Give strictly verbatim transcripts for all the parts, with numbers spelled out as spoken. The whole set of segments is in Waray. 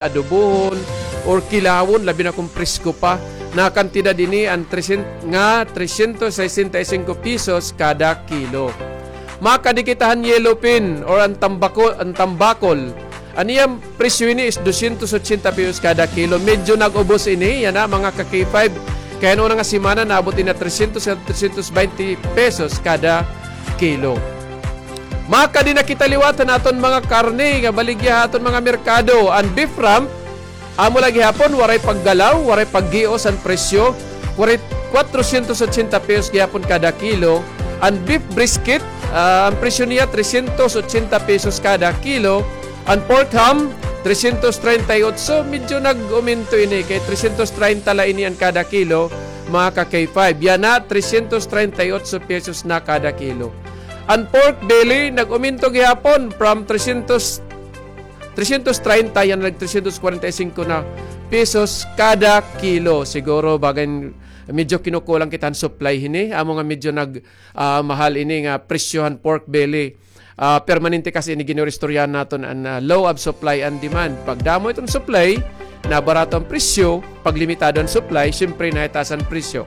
adobohon, or kilawon, labi na kon presko pa. Nakantidad ini an tresyen-, nga tresyentos sesenta y singko pesos kada kilo. Makadi kita han yellowfin or an tambako-, an tambakol. An iya presyo ini is dosyentos otsenta pesos kada kilo. Medyo nag-ubos ini, yana, mga ka-K five. Kay an una nga semana, naabot ini ha tresyentos, tresyentos baynte pesos kada kilo. Makadi na kita liwat han aton mga karne nga baligya ha aton mga merkado. An beef rump, amo la gihapon, waray paggalaw, waray paggios an presyo. Waray, kwatrosyentos otsenta pesos gihapon kada kilo. An beef brisket, ah, an presyo niya, tresyentos otsenta pesos kada kilo. An pork ham, tresyentos treinta y ocho, medyo nag-umento ini, kay tresyentos treinta la ini an kada kilo, mga ka-K five. Yana, tresyentos treinta y ocho pesos na kada kilo. An pork belly, nag-umento gihapon from tresyentos, tresyentos treinta, yana nag tresyentos kwarenta y singko na pesos kada kilo. Siguro, bagay, medyo kinukulang kita han supply hini. Amo nga medyo nag, ah, mahal ini nga presyo han pork belly. Ah, permanente kasi ini gin-iistoryahan naton an, ah, law of supply and demand. Pag damo iton supply, nabarato an presyo. Pag limitado an supply, siyempre, nahitaas an presyo.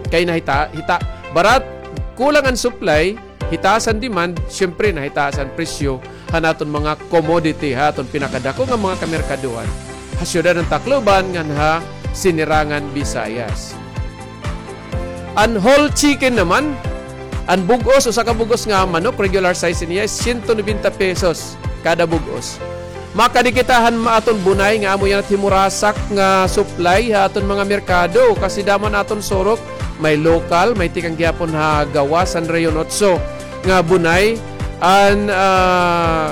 Kay nahita-, hita-, barat-, kulang an supply, hitaas an demand, siyempre, nahitaas an presyo han aton mga commodity, ha aton pinakadako nga mga kamerkaduhan ha siyudad han Tacloban ngan ha Sinirangan, Visayas. An whole chicken naman, an bug-os, usa ka bug-os nga manok, regular size niya, siyento nobenta pesos kada bug-os. Makadi kita han ma-, aton bunay nga amo yana it himurasak nga supply ha aton mga merkado, kasi damo an aton surok, may lokal, may tikang gihapon ha gawas han Rehiyon Otso nga bunay, an, ah,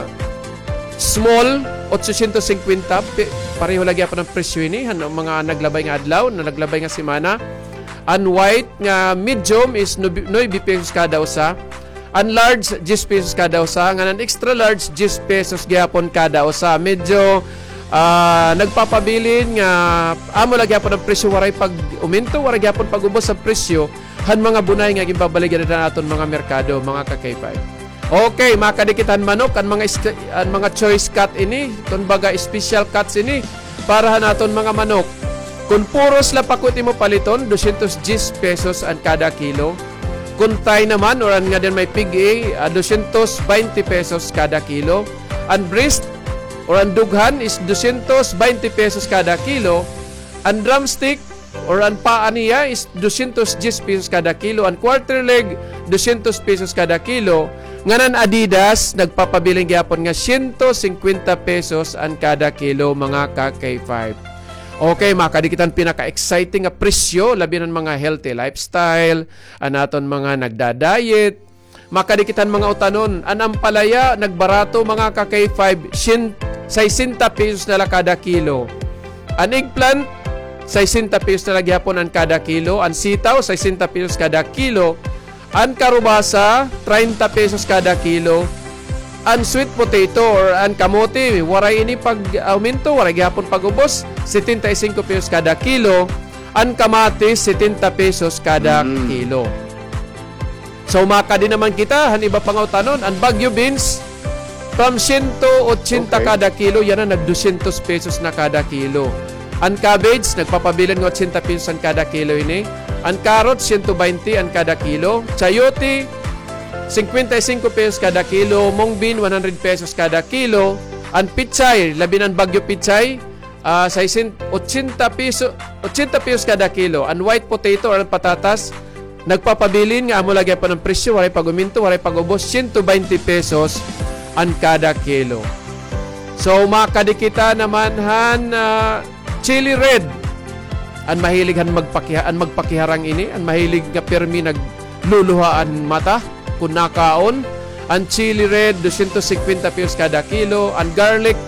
small, otsosyentos singkwenta, pe-, pareho la gihapon an presyo ini han mga naglabay nga adlaw, na naglabay nga semana. An white nga medium is nubi-, nuebe pesos kada usa. An large, diyes pesos kada usa. Ngan an extra large, diyes pesos gihapon kada usa. Medyo, ah, nagpapabilin nga amo la gihapon an presyo, waray pag-umento, waray gihapon pag-ubos sa presyo han mga bunay nga ginbabaligya dida han aton mga merkado, mga ka-K five. Okay, makadi kita han manok, an mga is-, an mga choice cut ini, kon baga special cuts ini para han aton mga manok. Kon puros la pakot imo paliton, dosyentos diyes pesos an kada kilo. Kon Thai naman, or an ngada may pig-i, ah, dosyentos baynte pesos kada kilo. An breast, or an dughan, is dosyentos baynte pesos kada kilo. An drumstick, or an paa niya is dosyentos diyes pesos kada kilo, an quarter leg, dosyentos pesos kada kilo, ngan an Adidas, nagpapabilin gihapon nga siyento singkwenta pesos an kada kilo, mga ka-K five. Okay, makadi kita han pinaka-exciting nga presyo, labi na an mga healthy lifestyle, an aton mga nagda-diet, makadi kita han mga utanon. An ampalaya, nagbarato, mga ka-K five, syen-, saysenta pesos na la kada kilo. An eggplant, saysenta pesos na la gihapon an kada kilo. An sitaw, saysenta pesos kada kilo. An karubasa, treinta pesos kada kilo. An sweet potato or an kamote, waray ini pag-aumento, waray gihapon pag-ubos, setenta y cinco pesos kada kilo. An kamatis, setenta pesos kada kilo. So, makadi naman kita han iba pa nga utanon, an Baguio beans, from siyento otsenta kada kilo, yana nag dosyentos pesos na kada kilo. An cabbage, nagpapabilin nga otsenta pesos an kada kilo ini. An carrot, siyento baynte an kada kilo. Chayote, singkwenta y singko pesos kada kilo. Mung bean, one hundred pesos kada kilo. An pechay, labi na an Baguio pechay, ah, saysenta, otsenta peso, otsenta pesos kada kilo. An white potato or an patatas, nagpapabilin nga amo la gihapon an presyo, waray pag-uminto, waray pag-ubos, siyento baynte pesos an kada kilo. So, makadi kita naman han, ah, chili red. An mahilig han magpakiha-, an magpakiharang ini, an mahilig nga pirmi nagluluha an mata kon nakaon. An chili red, dosyentos singkwenta pesos kada kilo. An garlic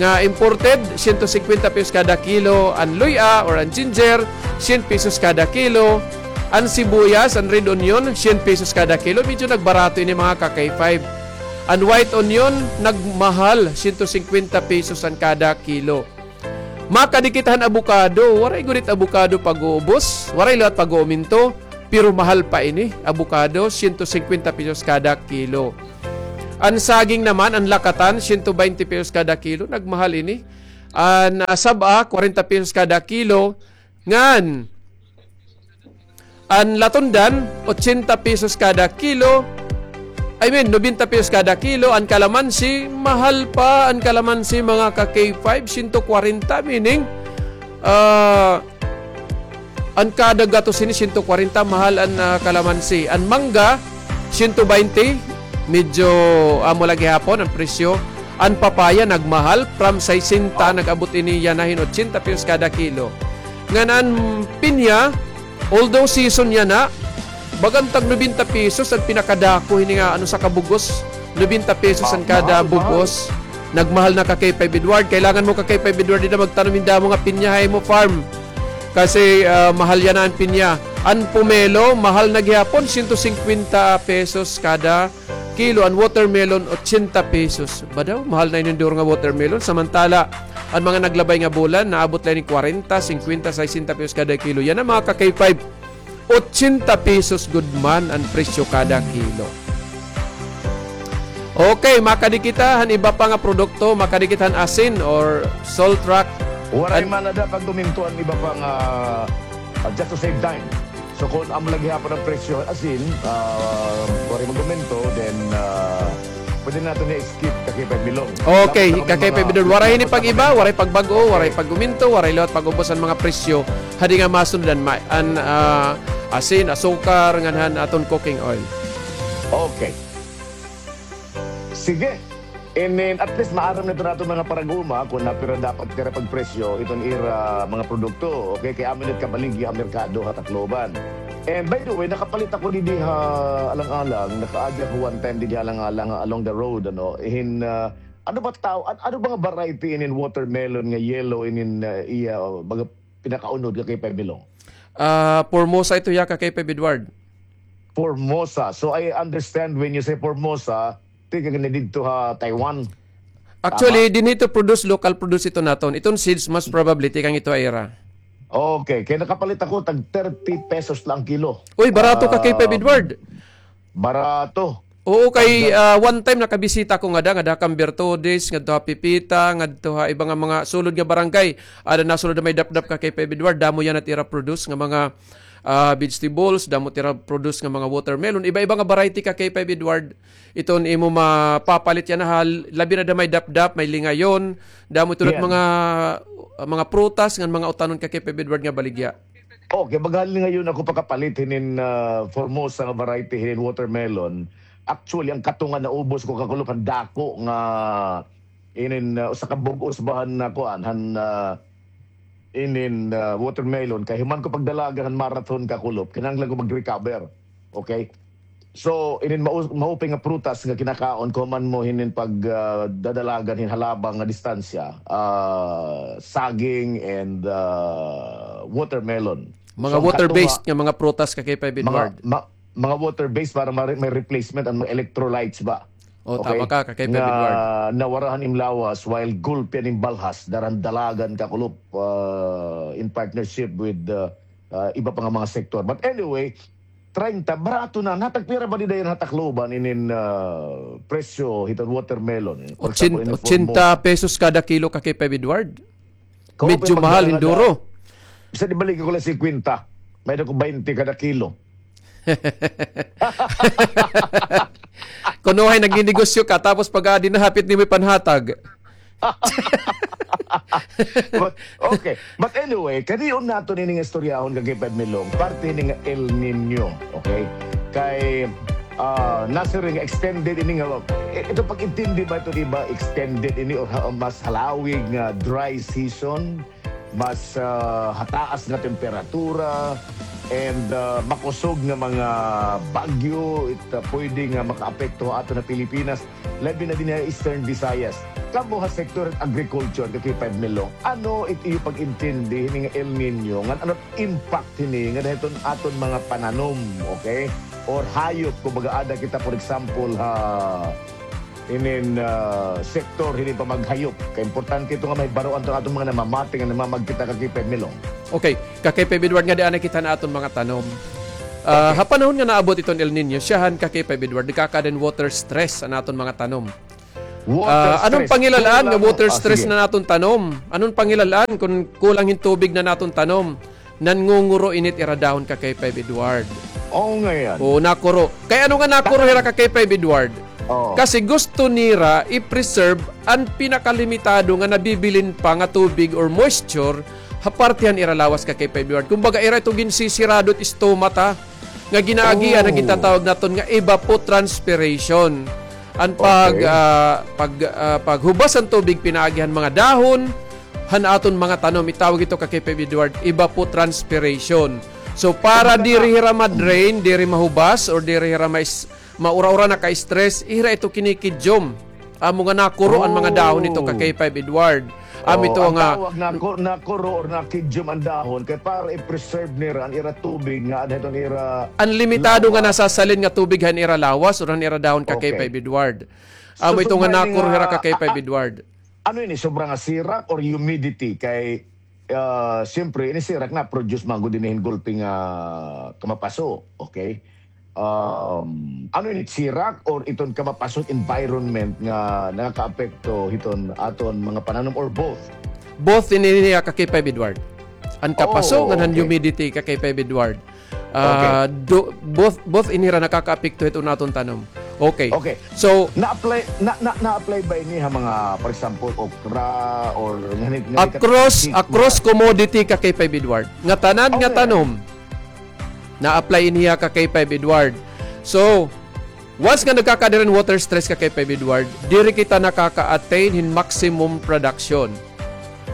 nga imported, siyento singkwenta pesos kada kilo. An luy-a or an ginger, syen pesos kada kilo. An sibuyas, an red onion, syen pesos kada kilo. Medyo nagbarato ini, mga ka-K five. An white onion, nagmahal, siyento singkwenta pesos an kada kilo. Makadi kita han abukado, waray gud it abukado pag-uubos, waray liwat pag-uuminto, pero mahal pa ini, abukado, siyento singkwenta pesos kada kilo. An saging naman, an lakatan, siyento baynte pesos kada kilo, nagmahal ini. An, ah, saba, kwarenta pesos kada kilo. Ngan an latundan, ochenta pesos kada kilo. I mean, nobenta pesos kada kilo. An kalamansi, mahal pa an kalamansi, mga ka-K five, siyento kwarenta, meaning, ah, an kada gatos ini, siyento kwarenta, mahal an, ah, kalamansi. An mangga, siyento baynte, medyo amo la gihapon an presyo. An papaya nagmahal, from sesenta, nag-abot ini yana hin ochenta pesos kada kilo. Ngan an pinya, although season yana, bagan tag nobenta pesos an pinakadako hini nga, ano, sa kabug-os. Nobenta pesos an kada bug-os. Nagmahal na, ka-K five Edward. Kailangan mo, ka-K five Edward, dida magtanom hin damo nga pinya ha imo farm. Kasi, ah, mahal yana an pinya. An pomelo, mahal na gihapon, siyento singkwenta pesos kada kilo. An watermelon, ochenta pesos. Ba daw, mahal na ini duro nga watermelon. Samantala, an mga naglabay nga bulan, naabot la ini kwarenta, singkwenta, sesenta pesos kada kilo. Yana, mga ka-K five, ochenta pesos gud man an presyo kada kilo. Okay, makadi kita han iba pa nga produkto, makadi kita han asin or salt rock. Waray man ada pag-uminto an iba pa nga, ah, just to save time. So, kon amo la gihapon an presyo han asin, ah, waray mag-uminto, then, ah, pwede naton i-skip, ka-K five Milong. Okay, ka-K five Milong. Waray ini pag-iba, waray pagbag-o, waray pag-uminto, waray liwat pag-ubos han mga presyo. Hadi nga masunod an ma-, an, ah, asin, asukar, ngan han aton cooking oil. Okay. Sige. And then, at least, maaram na iton aton mga parag-uma kon napira dapat it ira pagpresyo iton ira mga produkto. Okay? Kay amo ini it kabaligya ha merkado ha Tacloban. And by the way, nakapalit ako didi ha Alang-alang, nakaagi ako one time didi ha Alang-alang, along the road, ano, hin, ah, ano ba taw-, an-, ano ba nga variety inin watermelon nga yellow inin, ah, iya, ah, baga pinakaunod, ka-K five Milong? Ah, Formosa ito hiya, ka-K five Edward. Formosa. So, I understand when you say Formosa, tikang ini didto ha Taiwan. Actually, dinhi ito produce, local produce ito naton. Iton seeds, most probably, tikang ito ha ira. Okay. Kay nakapalit ako, tag thirty pesos la an kilo. Uy, barato, ka-K five Edward. Barato. Oo, kay, ah, one time nakabisita ako ngada, ngada ha Cambertodes, ngadto ha Pipita, ngadto ha iba nga mga sulod nga barangay. Ada nasulod ha may Dapdap, ka-K five Edward, damo yana it ira produce nga mga, ah, vegetables, damo it ira produce nga mga watermelon. Iba-iba nga variety, ka-K five Edward, iton imo mapapalit yana ha, labi na ha may Dapdap, may lingayon, damo ito nga mga, ah, mga prutas ngan mga utanon, ka-K five Edward, nga baligya. Okay, maghalin ngayon ako pakapalit hinin, ah, Formosa nga variety hinin watermelon. Actually, an katunga naubos ko, kakulop, han dako nga inin, ah, usa ka bug-os ba han, ah, kuan, han, ah, inin, ah, watermelon. Kay human ko pagdalagan han marathon, kakulop, kinahanglan ko mag-recover. Okay? So, inin mau-, maupay nga prutas nga kinakaon ko man mo hinin pag, ah, dadalagan hin halabang nga distansya, ah, saging and, ah, watermelon. Mga water-based nga mga prutas, ka-K five Edward. Mga, ma-, mga water-based para ma-, may replacement an mga electrolytes ba? O, tama ka, ka-K five Edward. Nga nawara han im lawas while gulpi an im balhas, dara han dalagan, kakulop, ah, in partnership with, ah, ah, iba pa nga mga sektor. But anyway, treinta, barato na. Natagpira ba dida yana ha Tacloban inin, ah, presyo hiton watermelon? For example, inin Formosa. Ochenta pesos kada kilo, ka-K five Edward. Medyo mahal, hin duro. Bisan ibalik ko la singkwenta. May-ada ko baynte kada kilo. Kuno hay nagninegosyo ka, tapos pag-aadi na, hapit nimo ipanhatag. But, okay. But anyway, kadion naton ini nga istoryahon, ka-K five Milong, parte ini nga El Niño, okay? Kay, ah, nasiring nga extended ini nga, eh, ito pag-intindi ba ito, di ba, extended ini or ha-, mas halawig nga dry season, mas, ah, hataas nga temperatura, and, ah, makusog nga mga bagyo, it, ah, pwede nga makaapekto ha aton nga Pilipinas. Labi na dinhi ha Eastern Visayas. Kamo ha sektor han agriculture, ka-K five Milong, ano it iyo pag-intindi hini nga El Niño? Ngan ano impact hini ngada hiton aton mga pananom, okay? Or hayop, kumbaga, ada kita, for example, ha inin, ah, sektor hini pamaghayop. Kay importante ito nga mahibaroan iton aton mga namamati nga namamagkita, ka-K five Milong. Okay, ka-K five Edward, ngadi anay kita han aton mga tanom. Ah, okay. Ha panahon nga naabot iton El Niño, siyahan, ka-K five Edward, nagkakaada hin water stress an aton mga tanom. Water Ah, ano an stress, pangilal-an nga kulang, water ah, stress sige. na naton tanom? Ano an pangilal-an kon kulang hin tubig na naton tanom? Nangunguro ini it ira dahon ka K five Edward. Oo nga yan. Oo, nakuro. Kay ano nga nakuro hira ka K five Edward? Oo. Kasi gusto nira i-preserve an pinakalimitado nga nabibilin pa nga tubig or moisture ha parte han ira lawas ka K five Edward. Kumbaga, ira ito ginsisirado it stomata nga ginaagian nga Oo. gintatawag naton nga evapotranspiration. An pag, Okay. ah, pag, ah, paghubas han tubig pinaagi han mga dahon, han aton mga tanom, itawag ito ka K five Edward, evapotranspiration. So, para diri hira ma-drain, diri mahubas, or diri hira mais-, maura-ura, naka-stress, ira ito kinikidyom. Amo nga nakuro an mga dahon nito ka Oh. K five Edward. Amo Oh, ito ang nga tawag nako-, nakuro or nakidyom an dahon kay para i-preserve nira an ira tubig nga adto hiton ira An limitado nga lawas. nasasalin nga tubig han ira lawas or han ira dahon ka Okay. K five Edward. Amo So, ito nga so, may nakuro nga, hira ka K five a-, a-, Edward. Ano ini, sobra nga sirak or humidity? Kay, ah, siyempre, ini sirak na-produce man gud ini hin gulpi nga kamapaso, okay? Um, ano ini, sirak or iton kamapaso environment nga nakakaapekto hiton aton mga pananom or both? Both ini niya ka K five Edward. An kapaso Oh, ngan han okay. humidity ka K five Edward. Ah, Okay. do-, both, both ini hira nakakaapekto hiton aton tanom. Okay. Okay. So, Na-apply, na, na, na-apply ba ini ha mga, for example, okra or ngani, ngani ka across, across commodity ka K five Edward. Nga tanan nga Okay. tanom, na-apply ini ha ka K five Edward. So, once nga nagkakaada hin water stress ka K five Edward, diri kita nakaka-attain hin maximum production.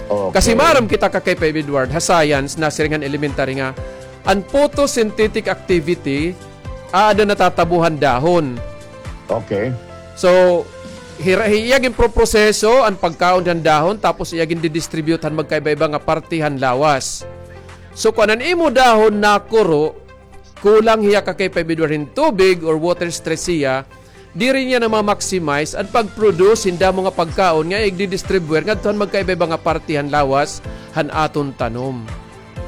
Okay. Kasi maaram kita ka K five Edward, ha science, nasiring han elementary nga, an photosynthetic activity, aada natatabo han dahon. Okay. So, hira-, iya ginproproseso an pagkaon han dahon, tapos iya gindidistribute han magkaiba-iba nga parte han lawas. So, kon an imo dahon nakuro, kulang hiya ka K five Edward hin tubig or water stress hiya, diri niya na ma-maximize an pag-produce hin damo nga pagkaon nga igdidistribute ngadto han magkaiba-iba nga parte han lawas han aton tanom.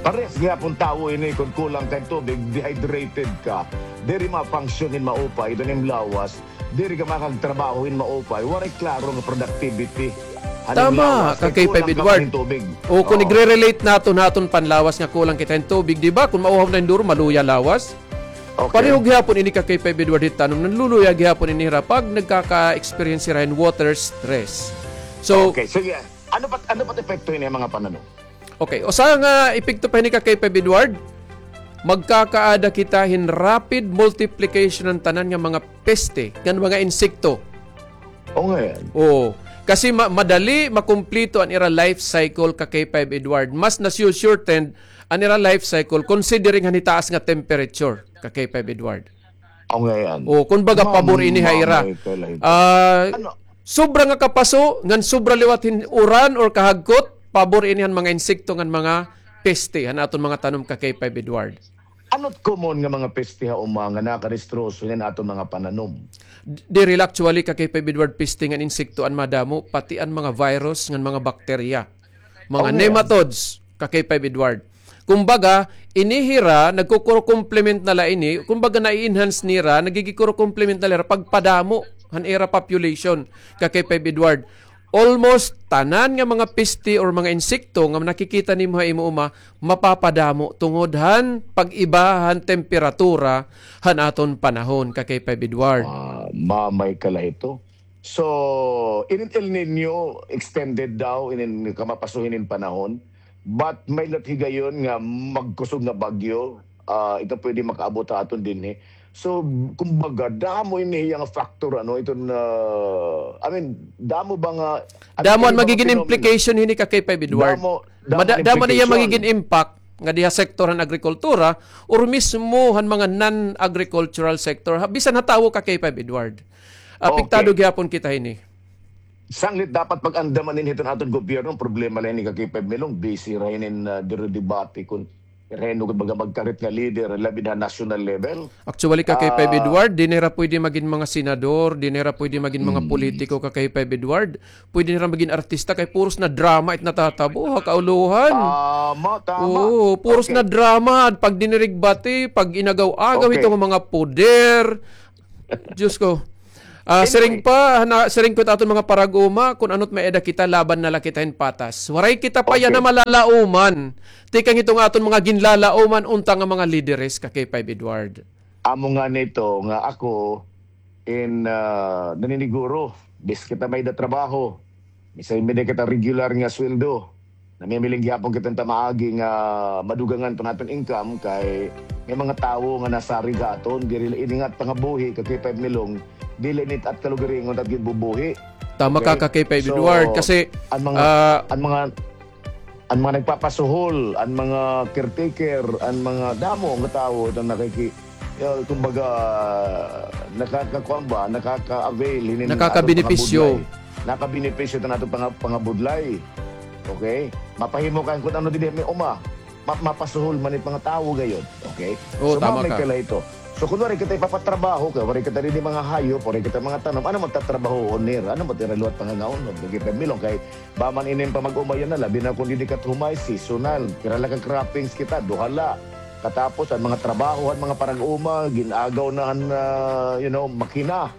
Parehas gihapon tawo ini, kon kulang ka hin tubig, dehydrated ka, diri ma-function hin maupay iton im lawas, diri ka makagtrabaho hin maupay, waray klaro nga productivity han im lawas, kay kulang ka hin tubig. Tama, ka K five Edward. O, kon Oo. igre-relate naton ha aton panlawas nga kulang kita hin tubig, di ba? Kon mauhaw na hin duro, maluya lawas. Okay. Pareho gihapon ini ka K five Edward hit tanom, nanluluya gihapon ini hira pag nagkaka-experience hira hin water stress. So, Okay, sige. Ano pa, ano pa epekto ini ha mga pananom? Okay, usa nga epekto pa hini ka K five Edward, magkakaada kita hin rapid multiplication han tanan nga mga peste, ngan mga insekto. O nga yan. Oo. Kasi ma-, madali makumplito an ira life cycle ka K five Edward. Mas nasi-shortened an ira life cycle considering han hitaas nga temperature ka K five Edward. O nga yan. O, kun baga, pabor ini ha ira. Mamay ka lang. Ah, Ano? sobra nga kapaso, ngan sobra liwat hin uran or kahagkot, pabor ini han mga insekto ngan mga peste han aton mga tanom ka K five Edward. Ano it common nga mga peste ha uma nga nakadistroso han aton mga pananom? D-, diri la actually ka K five Edward peste ngan insekto an madamo, pati an mga virus ngan mga bakterya. Mga Okay. nematodes, ka K five Edward. Kumbaga, ini hira, nagkukuro-complement na la ini, kumbaga, nai-enhance nira, nagigikuro-complement na la hira, pagpadamo han ira population, ka K five Edward. Almost tanan nga mga peste or mga insekto nga nakikita nimo ha imo uma, mapapadamo tungod han pag-iba han temperatura han aton panahon, ka K five Edward. Ah, mamay ka la hito. So, inin El Niño, extended daw, inin kamapaso hinin panahon. But may lat higayon nga magkusog nga bagyo, ah, ito pwede makaabot ha aton dinhi. So, kumbaga, damo ini iya nga factor, ano, iton, ah, I mean, damo ba nga, ano Damo an ini mga magigin phenomenon? implication hini ka K five Edward. Damo, damo Mada-, an damo an iya implication. magigin impact nga diha sektor han agrikultura or mismo han mga non-agricultural sector. Ha, bisan ha tawo ka K five Edward. Apektado Okay. gihapon kita hini. Sanglit dapat pag-andaman ini hiton aton gobyerno, an problema la ini ka K five Milong, busy ra hinin, ah, diri debate kun hino gud baga magkarit nga leader, labi na national level. Actually, ka K five Ah. Edward, di nira pwede magin mga senador, di nira pwede magin mga Hmm. politiko ka K five Edward. Pwede nira magin artista kay puros na drama it natatabo ha kaulohan. Tama, tama. Oo, puros Okay. na drama, pag dinirigbati, pag inagaw-agaw Okay. itong mga poder. Diyos ko. Ah, siring pa, na, siring ko it aton mga parag-uma, kun ano't may-ada kita, laban na la kita hin patas. Waray kita pa yana malalauman. Tikang hiton aton mga ginlalauman unta nga mga lideres ka K five Edward. Amo nga nito nga ako in, ah, naniniguro, bis kita may-ada trabaho, bisay may-ada kita regular nga sweldo, namimiling gihapon kita ta maagi nga madugangan pa naton income kay may mga tawo nga nasarig ha aton, diri la ini nga pangabuhi ka K five Milong, dili nit at kalugaringon at ginbubuhi. Tama ka, ka K five Edward, kasi an mga, ah, an mga an mga nagpapasuhol, an mga caretaker, an mga damo nga tawo, ito nakiki-, ah, kumbaga, nakakakuan ba, nakaka-avail hinin aton pangabudlay. Nakakabenepisyo. Nakabenepisyo ito naton panga-, pangabudlay. Okay? Mapahimo ka kun ano didi may uma. Ma-, mapasuhol man it mga tawo gayod. Okay? Oo, tama ka. So, mao may kala ito. So, kun waray kita ipapatrabaho, kay waray kita didi mga hayop, waray kita mga tanom, ano magtatrabahoon nira? Ano magtira liwat pangangaon? Kay K five Milong, kay Ba man inin pamag-umayan na, labi na kun didi kat humay, seasonal. Pira la ka croppings kita, duha la. Katapos, an mga trabaho, an mga parag-uma, gin-agaw na han, ah, you know, makina.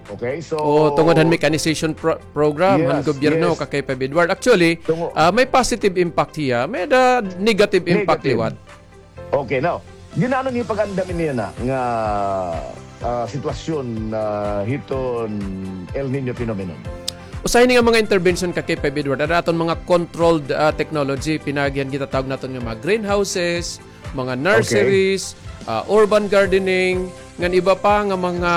Okay, so, oo, tungod han mechanization pro-, program han gobyerno, ka K five Edward. Actually, ah, may positive impact hiya, may-ada negative impact liwat. Okay, now, gin-ano niyo pag-andam ini yana nga, ah, sitwasyon, ah, hiton El Niño phenomenon? Usa hini nga mga intervention ka K five Edward, an aton mga controlled, ah, technology, pinaagi han gintatawag naton nga mga greenhouses, mga nurseries, ah, urban gardening, ngan iba pa nga mga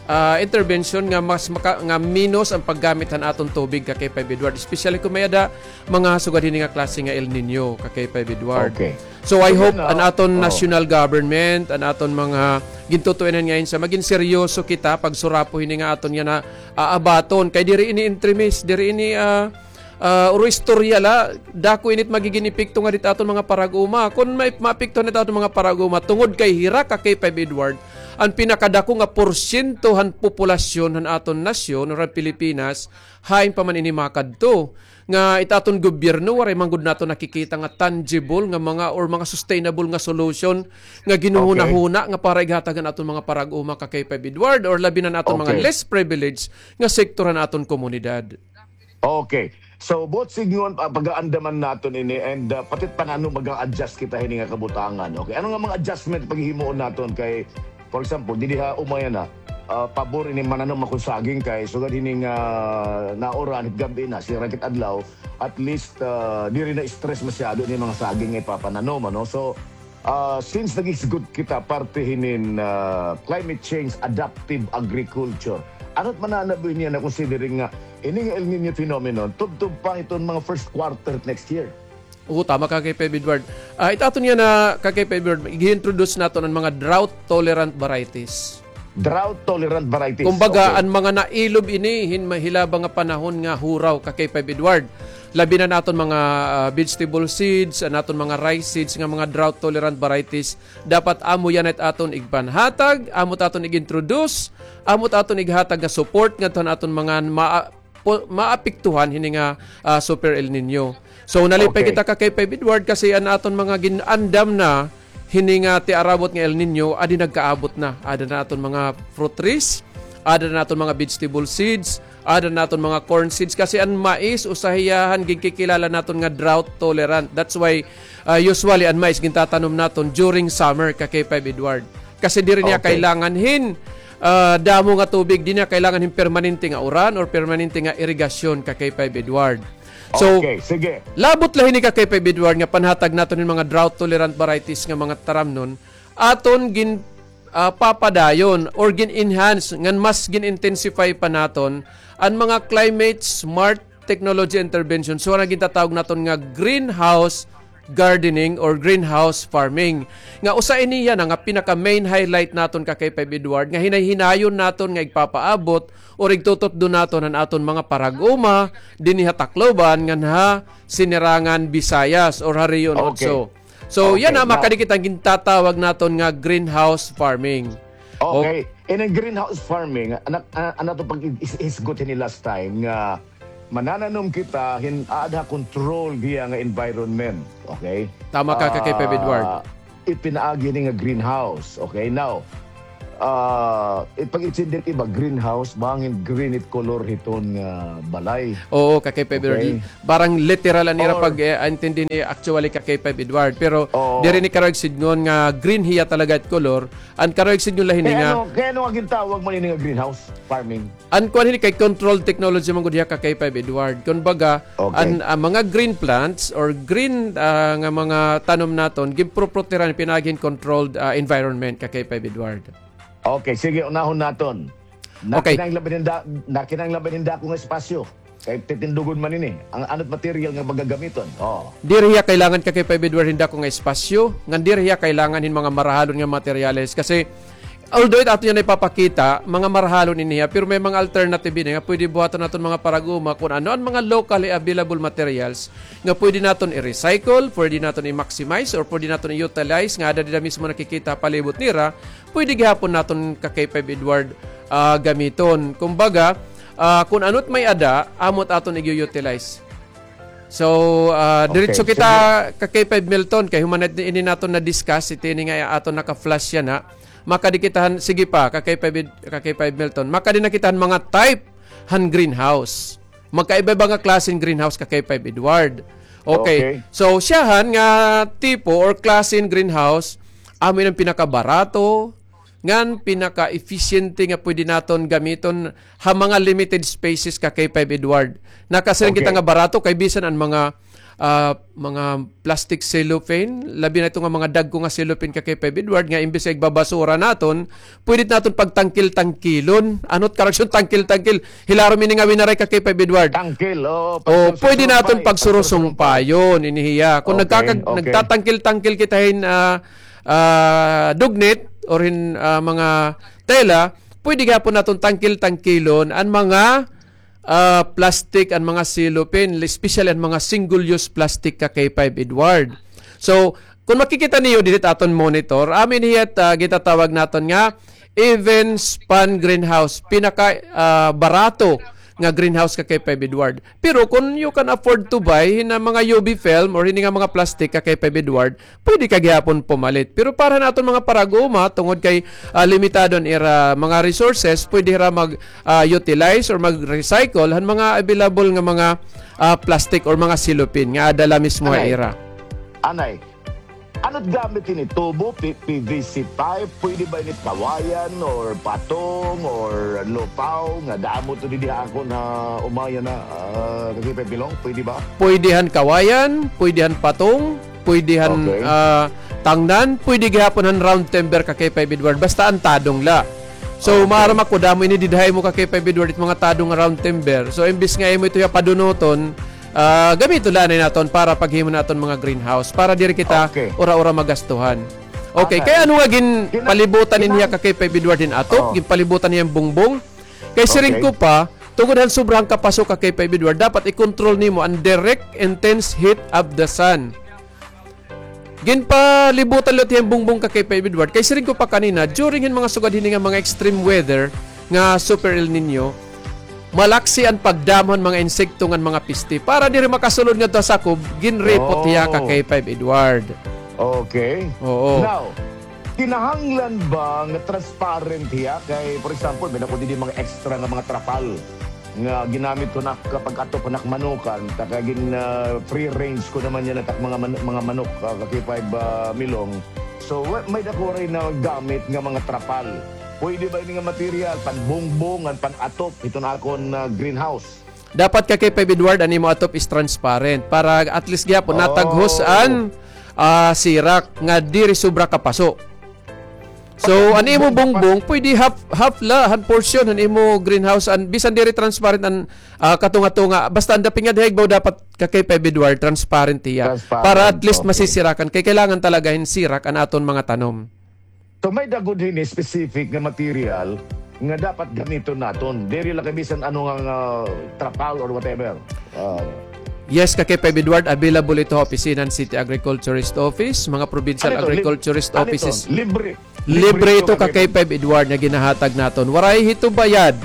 ah, intervention nga mas maka-, nga minos an paggamit han aton tubig ka K five Edward, especially kun may-ada mga sugad hini nga klase nga El Niño ka K five Edward. Okay. So, I hope an aton national government, an aton mga gintutuinan nga ahensya, magin seryoso kita pagsurapo hini nga aton yana, ah, abaton. Kay diri ini entremis, diri ini, ah, ah, uro istorya la, dako init magigin epekto ngadi hit aton mga parag-uma. Kun may maapektuhan hit aton mga parag-uma, tungod kay hira ka K five Edward, an pinakadako nga porsyento han populasyon han aton nasyon, or han Pilipinas, hain pa man ini makadto. Nga it aton gobyerno, waray man gud naton nakikita nga tangible nga mga, or mga sustainable nga solution nga ginhuhunahuna nga para ighatag han aton mga parag-uma ka K five Edward, or labi na an aton mga less privileged nga sektor han aton komunidad. Okay. So, buot sidngon, ah, pag-aandaman naton ini and, ah, pati it pananom mag-a-adjust kita hini nga kabutangan. Okay. Ano nga mga adjustment paghihimuon naton kay, for example, didi ha uma yana, ah, pabor ini mananom ako saging kay sugad hini nga nauran hit gab-i na, sira kit adlaw, at least, ah, diri na stress masyado ini mga saging nga ipapananom, ano? So, Ah, since naghisgot kita parte hinin, ah, climate change adaptive agriculture, ano it mananabo niyan na considering nga ini nga El Niño phenomenon tubtob pa hiton mga first quarter next year? Oo, tama ka, K five Edward. Ah, it aton yana, ka K five Edward, i-introduce naton an mga drought tolerant varieties. Drought tolerant varieties. Kumbaga, okay, an mga nailob ini hin mahilaba nga panahon nga huraw, ka K five Edward. Labi na an aton mga, ah, vegetable seeds, an aton mga rice seeds nga mga drought tolerant varieties. Dapat amo yana it aton igpanhatag, amo it aton ig-introduce, amo it aton ighatag nga support ngadto han aton mga ma-, po-, maapektuhan hini nga, ah, Super El Niño. So, nalipay kita ka K five Edward kasi an aton mga gin-andam na hini nga tiarabot nga El Niño, adi nagkaabot na. Ada na aton mga fruit trees, ada na aton mga vegetable seeds, ada na aton mga corn seeds. Kasi an mais, usa hiya han ginkikilala naton nga drought tolerant. That's why, ah, usually an mais gintatanom naton during summer ka K five Edward. Kasi diri niya kailangan hin, ah, damo nga tubig, di niya kailangan hin permanente nga uran or permanente nga irigasyon ka K five Edward. So, okay, sige, labot la hini ka K five Edward nga panhatag naton hin mga drought tolerant varieties nga mga taramnon, aton gin, ah, papadayon or gin-enhance ngan mas gin-intensify pa naton an mga climate smart technology intervention. So, an gintatawag naton nga greenhouse gardening or greenhouse farming. Nga usa ini yana nga pinaka main highlight naton ka K five Edward nga hinay-hinayon naton nga igpapaabot or igtututdo naton han aton mga parag-uma dinhi ha Tacloban ngan ha Sinirangan Visayas or ha Rehiyon Otso. So, yana, makadi kita gintatawag naton nga greenhouse farming. Okay. In a greenhouse farming, an, an, an aton pag-, is-, isgot hini last time nga manananom kita hin aad ha control hiya nga environment. Okay? Tama ka, ka K five Edward. Ah, ipinaagi hini nga greenhouse. Okay? Now, ah, it pag-intindi iba, greenhouse, bangin green it color hiton nga balay. Oo, ka K five Edward. Okay. Parang literal an ira pag, eh, intindi ni actually ka K five Edward. Pero diri ni karuyag sidngon nga green hiya talaga it color. An karuyag sidngon la hini nga ano, kay ano nga gintawag man ini nga greenhouse farming? An kuan hini kay controlled technology man gud hiya ka K five Edward. Kumbaga, an, ah, mga green plants or green, ah, nga mga tanom naton, ginproproteran pinaagi hin controlled, ah, environment ka K five Edward. Okay, sige, unahon naton. Okay. Nakinahanglan ba hin da-, nakinahanglan ba hin dako nga espasyo? Kay titindugon man ini. An ano't material nga magagamiton? Oo. Diri hiya kailangan ka K five Edward hin dako nga espasyo, ngan diri hiya kailangan hin mga marahalon nga materyales. Kasi, although it aton niyan ipapakita, mga marahalon ini hiya, pero may mga alternative ini nga pwede buhaton naton mga paraag-uma kun ano an mga locally available materials nga pwede naton i-recycle, pwede naton i-maximize, or pwede naton i-utilize nga ada dida mismo nakikita palibot nira, pwede gihapon naton ka K five Edward, ah, gamiton. Kumbaga, ah, kun ano't may-ada, amo't aton i-utilize. So, ah, diretso kita ka K five Milton, kay human na ini naton na-discuss, ito ini nga aton naka-flash yana. Makadi kita han, sige pa, ka K five Ed-, ka K five Milton. Makadi na kita han mga type han greenhouse. Magkaiba-iba nga klase hin greenhouse ka K five Edward. Okay. Okay. So, siyahan nga tipo or klase hin greenhouse, amo ini an pinakabarato, ngan pinaka-efficiente nga pwede naton gamiton ha mga limited spaces ka K five Edward. Nakasiring kita nga barato kay bisan an mga, ah, mga plastic cellophane, labi na ito nga mga dagko nga cellophane ka K five Edward nga imbes nga igbabasura naton, pwede naton pagtangkil-tangkilon. Ano't correction, tangkil-tangkil? Hilarom ini nga winaray ka K five Edward. Tangkil, oo. O, pwede naton pagsurusumpay. Pagsurusumpayon, ini hiya. Kun nagkakag-, nagtatangkil-tangkil kita hin, ah, ah, dugnit or hin, ah, mga tela, pwede gihapon naton tangkil-tangkilon an mga, ah, plastic, an mga cellophane, especially an mga single-use plastic ka K five Edward. So, kun makikita niyo didi ha aton monitor, amo ini hiya it, ah, gintatawag naton nga even span greenhouse, pinaka, ah, barato nga greenhouse ka K five Edward. Pero kun you can afford to buy hini nga mga U V film or hini nga mga plastic ka K five Edward, pwede ka gihapon pumalit. Pero para han aton mga paraag-uma, tungod kay, ah, limitado an ira mga resources, pwede hira mag, ah, utilize or mag-recycle han mga available nga mga, ah, plastic or mga cellophane nga ada la mismo ha ira. Anay, ano't gamit ini? Tubo, P-, P V C pipe, pwede ba ini kawayan or patong or lupaw nga damo ito didi ha akon ha Umaya na, ah, ka K five Milton, pwede ba? Pwede han kawayan, pwede han patong, pwede han, ah, tangnan, pwede gihapon han round timber ka K five Edward, basta an tadong la. So, maaram ako, damo ini dida ha imo ka K five Edward, it mga tadong nga round timber. So, imbes nga imo ito hiya padunoton, ah, gamiton la anay naton para paghimo naton mga greenhouse, para diri kita ura-ura magastuhan. Okay, kay ano nga ginpalibutan ini hiya ka K five Edward hin atop, ginpalibutan hiya hin bungbong? Kay siring ko pa, tungod han sobra han kapaso ka K five Edward, dapat i-control nimo an direct intense heat of the sun. Ginpalibutan liwat hiya hin bungbong ka K five Edward. Kay siring ko pa kanina, during hin mga sugad hini nga mga extreme weather nga Super El Nino, malaksi an pagdamo han mga insekto ngan mga peste. Para diri makasulod ngadto ha sakob, ginripot hiya ka K five Edward. Okay. Oo. Now, kinahanglan ba nga transparent hiya? Kay, for example, may-ada ko didi mga extra nga mga trapal nga ginamit ko na kapag atop han ak manukan, ta kay gin, ah, free range ko naman yana it ak mga man-, mga manok, ah, ka K five, ah, Milton. So, wa-, may-ada ko rin na gamit nga mga trapal. Pwede ba ini nga material, panbungbong, ngan pan-atop hiton akon, ah, greenhouse? Dapat ka K five Edward, an imo atop is transparent para at least gihapon nataghos an, ah, sirak nga diri sobra kapaso. So, an imo bungbong, pwede half, half la han portion han imo greenhouse, an bisan diri transparent an, ah, katunga-tunga. Basta an dapingan ha igbaw dapat ka K five Edward, transparent hiya. Para at least masisirakan. Kay kailangan talaga hin sirak an aton mga tanom. So, may-ada gud hini specific nga material nga dapat gamiton naton. Diri la kay bisan ano nga, nga trapal or whatever. Ah. Yes, ka K five Edward, available ito ha opisina han City Agriculturist Office, mga provincial agriculturist offices. Libre. Libre ito ka K five Edward nga ginahatag naton. Waray hito bayad.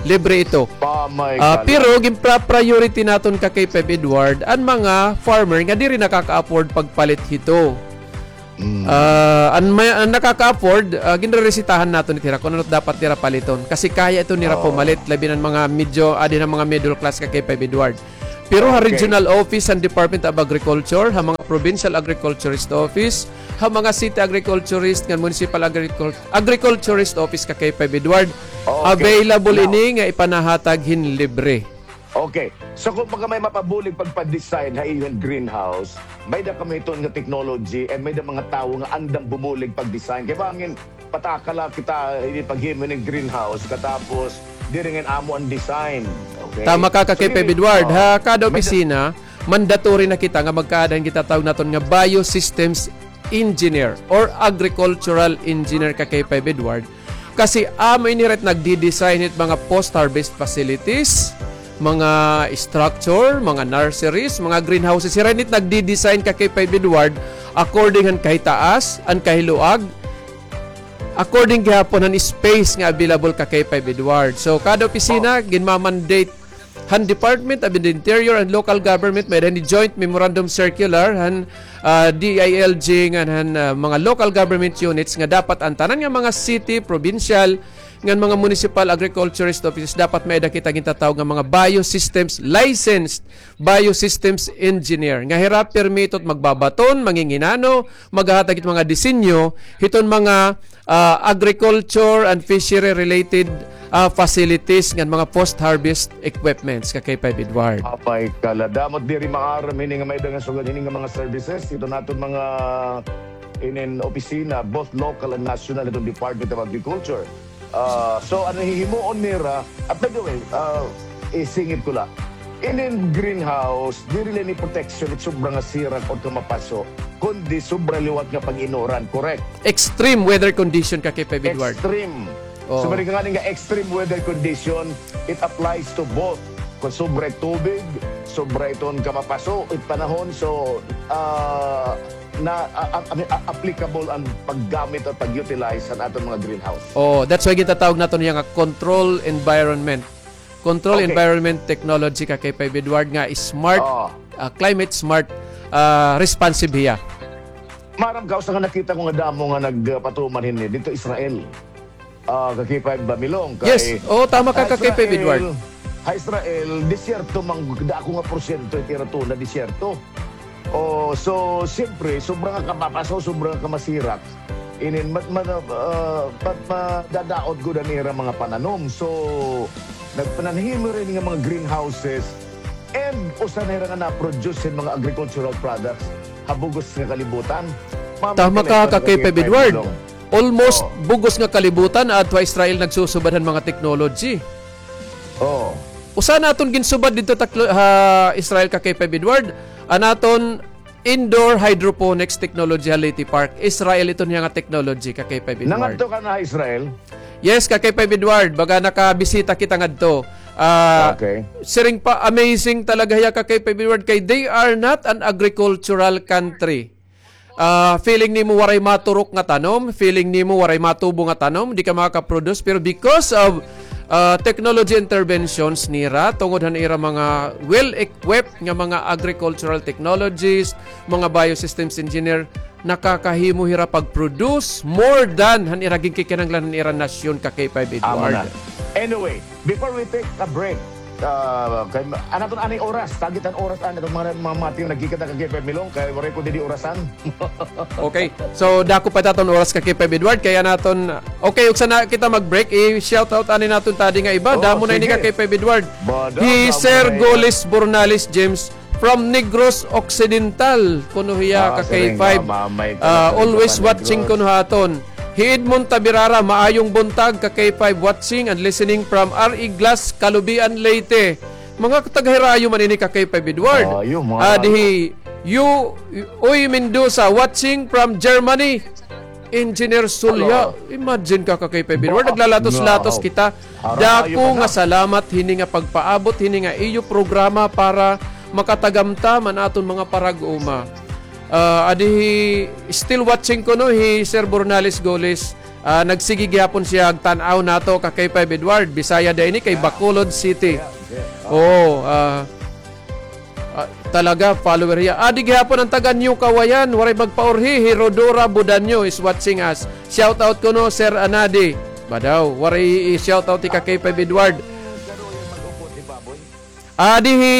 Libre ito. Ah, pero ginpra-priority naton ka K five Edward an mga farmer nga diri nakaka-afford pagpalit hito. Mm. Ah, an may, an nakaka-afford, ah, ginreresitahan naton it hira kon ano it dapat nira paliton. Kasi kaya ito nira pumalit, labi na an mga medyo, adi na mga middle class ka K five Edward. Pero ha regional office han Department of Agriculture, ha mga provincial agriculturist office, ha mga city agriculturist ngan municipal agricul-, agriculturist office ka K five Edward, available ini nga ipanahatag hin libre. Okay. So, kon baga may mapabulig pagpa-design ha iyo hin greenhouse, may-ada kami iton nga technology and may-ada mga tawo nga andam bumulig pag-design. Kay bangin, patakala kita, ini paghimo hin greenhouse, katapos, diri ngay-an amo an design. Okay? Tama ka, ka K five Edward. Ha kada opisina, mandatory na kita nga magkaada hin gintatawag naton nga biosystems engineer or agricultural engineer, ka K five Edward. Kasi amo ini hira it nagdi-design hit mga post-harvest facilities, mga structure, mga nurseries, mga greenhouses. Hira ini it nagdi-design, ka K five Edward, according han kahitaas, an kahiluag, according gihapon han space nga available, ka K five Edward. So, kada opisina, ginma-mandate han Department of the Interior and Local Government, may-ada ini joint memorandum circular han, ah, D I L G ngan han, ah, mga local government units nga dapat an tanan nga mga city, provincial, ngan mga municipal agriculturist offices dapat may-ada kita gintatawag nga mga biosystems licensed biosystems engineer. Nga hira permito it magbabaton, manginginano, maghahatag it mga disenyo hiton mga, ah, agriculture and fishery related, ah, facilities ngan mga post-harvest equipments, ka K five Edward. Apay kala, damo it diri maaram hini nga may-ada nga sugad hini nga mga services hiton aton mga inin opisina, both local and national, hiton Department of Agriculture. Ah, so, an hihimuon nira, ah, by the way, ah, isingit ko la. Inin greenhouse, diri la ini protection it sobra nga sirak or kamapaso, kundi sobra liwat nga pag-inuran, correct? Extreme weather condition, ka K five Edward. Extreme. Oo. So, balik nga nga extreme weather condition, it applies to both. Kon sobra it tubig, sobra iton kamapaso, it panahon, so, ah, na, a-, a-, a-, applicable an paggamit o pag-utilize han aton mga greenhouse. Oo, that's why gintatawag naton hiya nga control environment. Control environment technology, ka K five Edward, nga smart, ah, climate smart, ah, responsive hiya. Maaram ka, usa nga nakita ko nga damo nga nagpatuman hini didto Israel. Ah, ka K five Bamilong, kay... Yes. Oo, tama ka, ka K five Edward. Ha Israel, disyerto man, dako nga porsyento it ira tuna, disyerto. O, so, siyempre, sobra nga kamapaso, sobra nga kamasirak. Inin, ma-, ma-, ah, ma-, madadaot gud an ira mga pananom. So, nagpananhimo hira ini nga mga greenhouses, and usa na hira nga na-produce hin mga agricultural products ha bug-os nga kalibutan. Tama ka, ka K five Edward. Almost bug-os nga kalibutan, adto ha Israel nagsusubad han mga technology. Oo. Usa han aton ginsubad didto taklo-, ha Israel, ka K five Edward, an aton indoor hydroponics technology ha Leyte Park. Israel iton hiya nga technology, ka K five Edward. Nangadto ka na ha Israel? Yes, ka K five Edward. Baga nakabisita kita ngadto. Ah, siring pa, amazing talaga hiya, ka K five Edward, kay they are not an agricultural country. Ah, feeling nimo waray maturok nga tanom, feeling nimo waray matubo nga tanom, di ka makaka-produce, pero because of, ah, technology interventions nira, tungod han ira mga well-equipped nga mga agricultural technologists, mga biosystems engineer, nakakahimo hira pag-produce more than han ira ginkikinahanglan han ira nasyon, ka K five Edward. Anyway, before we take a break, ah, kay, an aton anay oras, target an oras, an aton mga, mga mati nga nagkikita, ka K five Milong, kay waray ko didi orasan. Okay. So, dako pa it aton oras, ka K five Edward, kay an aton, okay, uksa na kita mag-break, i-shout out anay naton tadi nga iba. Damo na ini, ka K five Edward. Hi Sir Golis Bornales James, from Negros Occidental, kuno hiya, ka K five. Ah, always watching kuno ha aton. Hi Edmond Tabirara, maayong buntag, ka K five, watching and listening from R E Glass, Calubian, Leyte. Mga taga-Hirayo man ini, ka K five Edward. Adi hi Yu-, Uy Mendoza, watching from Germany. Engineer Sulya, imagine ka, ka K five Edward, naglalatos-latos kita. Dako nga salamat hini nga pagpaabot hini nga iyo programa para makatagamtam an aton mga parag-uma. Ah, adi hi, still watching kuno hi Sir Bornales Goles. Ah, nagsigi gihapon siya agtan-aw nato, ka K five Edward. Bisaya da ini kay Bacolod City. Oo, ah, Ah, Talaga, follower hiya. Adi gihapon an taga New Kawayan, waray magpaurhi, hi Rodora Budanyo is watching us. Shout out kuno, Sir Anadi. Ba daw, waray i-shout out hi ka K five Edward. Adi hi,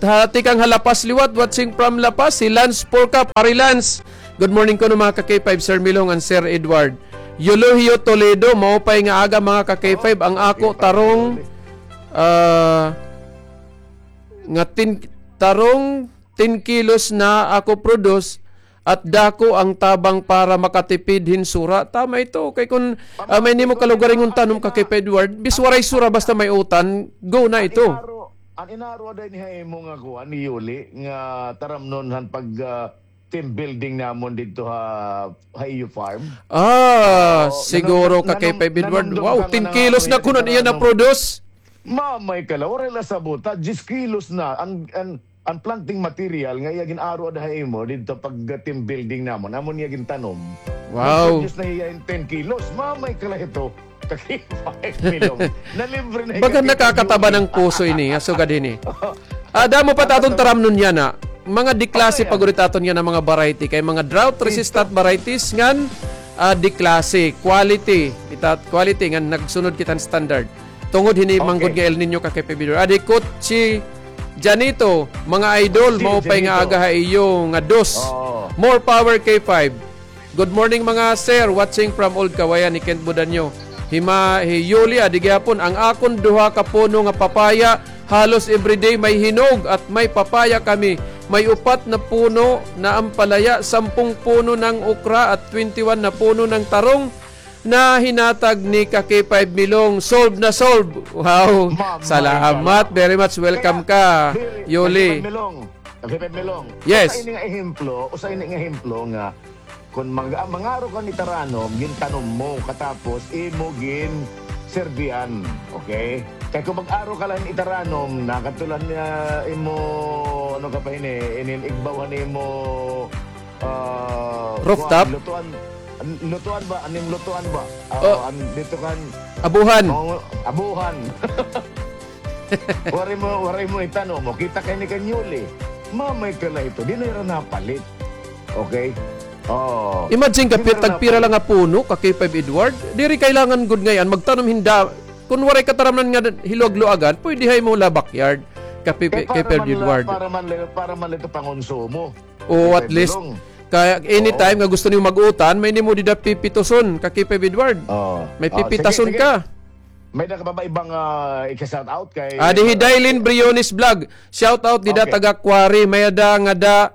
ha, tikang ha La Paz liwat, watching from La Paz, hi Lance Porca, Pari Lance. Good morning kuno, mga ka K five, Sir Milong and Sir Edward. Eulogio Toledo, maupay nga aga, mga ka K five, ang ako tarong, ah, nga tin-, tarong ten kilos na ako produce at dako ang tabang para makatipid hin sura. Tama ito. Kay kun, ah, may nimo kalugaringon tanom ka K five Edward, bis waray sura basta may utan, go na ito. An inaro, an inaro ada ini ha imo nga kuan ni Yuli nga taramnon han pag, ah, team building namon didto ha, ha iyo farm. Ah, siguro ka K five Edward. Wow, ten kilos na kuno niya na-produce. Mamay ka la, waray la sabota, diyes kilos na. An, an, an planting material nga iya gin-aro ada ha imo didto pag team building namon, amo niya gintanom. Wow. Nag-produce na hiya hin ten kilos. Mamay ka la ito. Ka K five Milong. Nalibre na. Baga nakakataba ng puso ini, ha sugad hini. Ah, damo pa ta aton taramnon yana. Mga D-klase pa gud it aton yana mga variety. Kay mga drought resistant varieties ngan, ah, D-klase. Quality. Kita, quality ngan nagsunod kita hin standard. Tungod hini man gud nga El Niño ka K five Edward. Adi Kutsi Janito, mga idol, maupay nga aga ha iyo nga dos. More power K five. Good morning, mga sir. Watching from Old Kawayan, hi Kent Budanyo. Hi Ma-, hi Yuli, adi gihapon, ang akon duha ka puno nga papaya, halos everyday may hinog at may papaya kami. May upat na puno na ampalaya, sampung puno ng okra at twenty-one na puno ng tarong na hinatag ni ka K five Milong. Solve na solve. Wow. Salamat. Very much welcome ka, Yuli. Ka K five Milong. Yes. Usa ini nga ehemplo, usa ini nga ehemplo nga Kon mag-, mangaro ka hin itaranom, gintanom mo, katapos imo ginserbihan. Okay? Kay kon mag-aro ka la hin itaranom, nakadto la niya imo, ano ka pa hini, inin igbaw han imo, ah, rooftop? Kuan, lutuan, lutuan ba? Anim lutuan ba? Ah, oh. An-, dito kan abuhan. Oh, abuhan. Waray mo, waray mo itanom. O, kita kay ni Kanyuli. Mamay ka la ito. Di na ira napalit. Okay? Oh. Imagine ka, pira, tagpira la nga puno ka K five Edward. Diri kailangan gud ngay-an magtanom hin da-, kun waray ka taramnan nga hilwag-luagan, pwede ha imo la backyard ka K five Edward. Para man la, para man la ito pangonsumo. O, at least, kay anytime nga gusto niyo mag-utan, may nimo dida pipituson ka K five Edward. May pipitason ka. May-ada ka pa ba ibang, ah, ika-shout out kay, ah, di hi Dailin Briones Vlog. Shout out dida taga Quarry. May-ada ngada,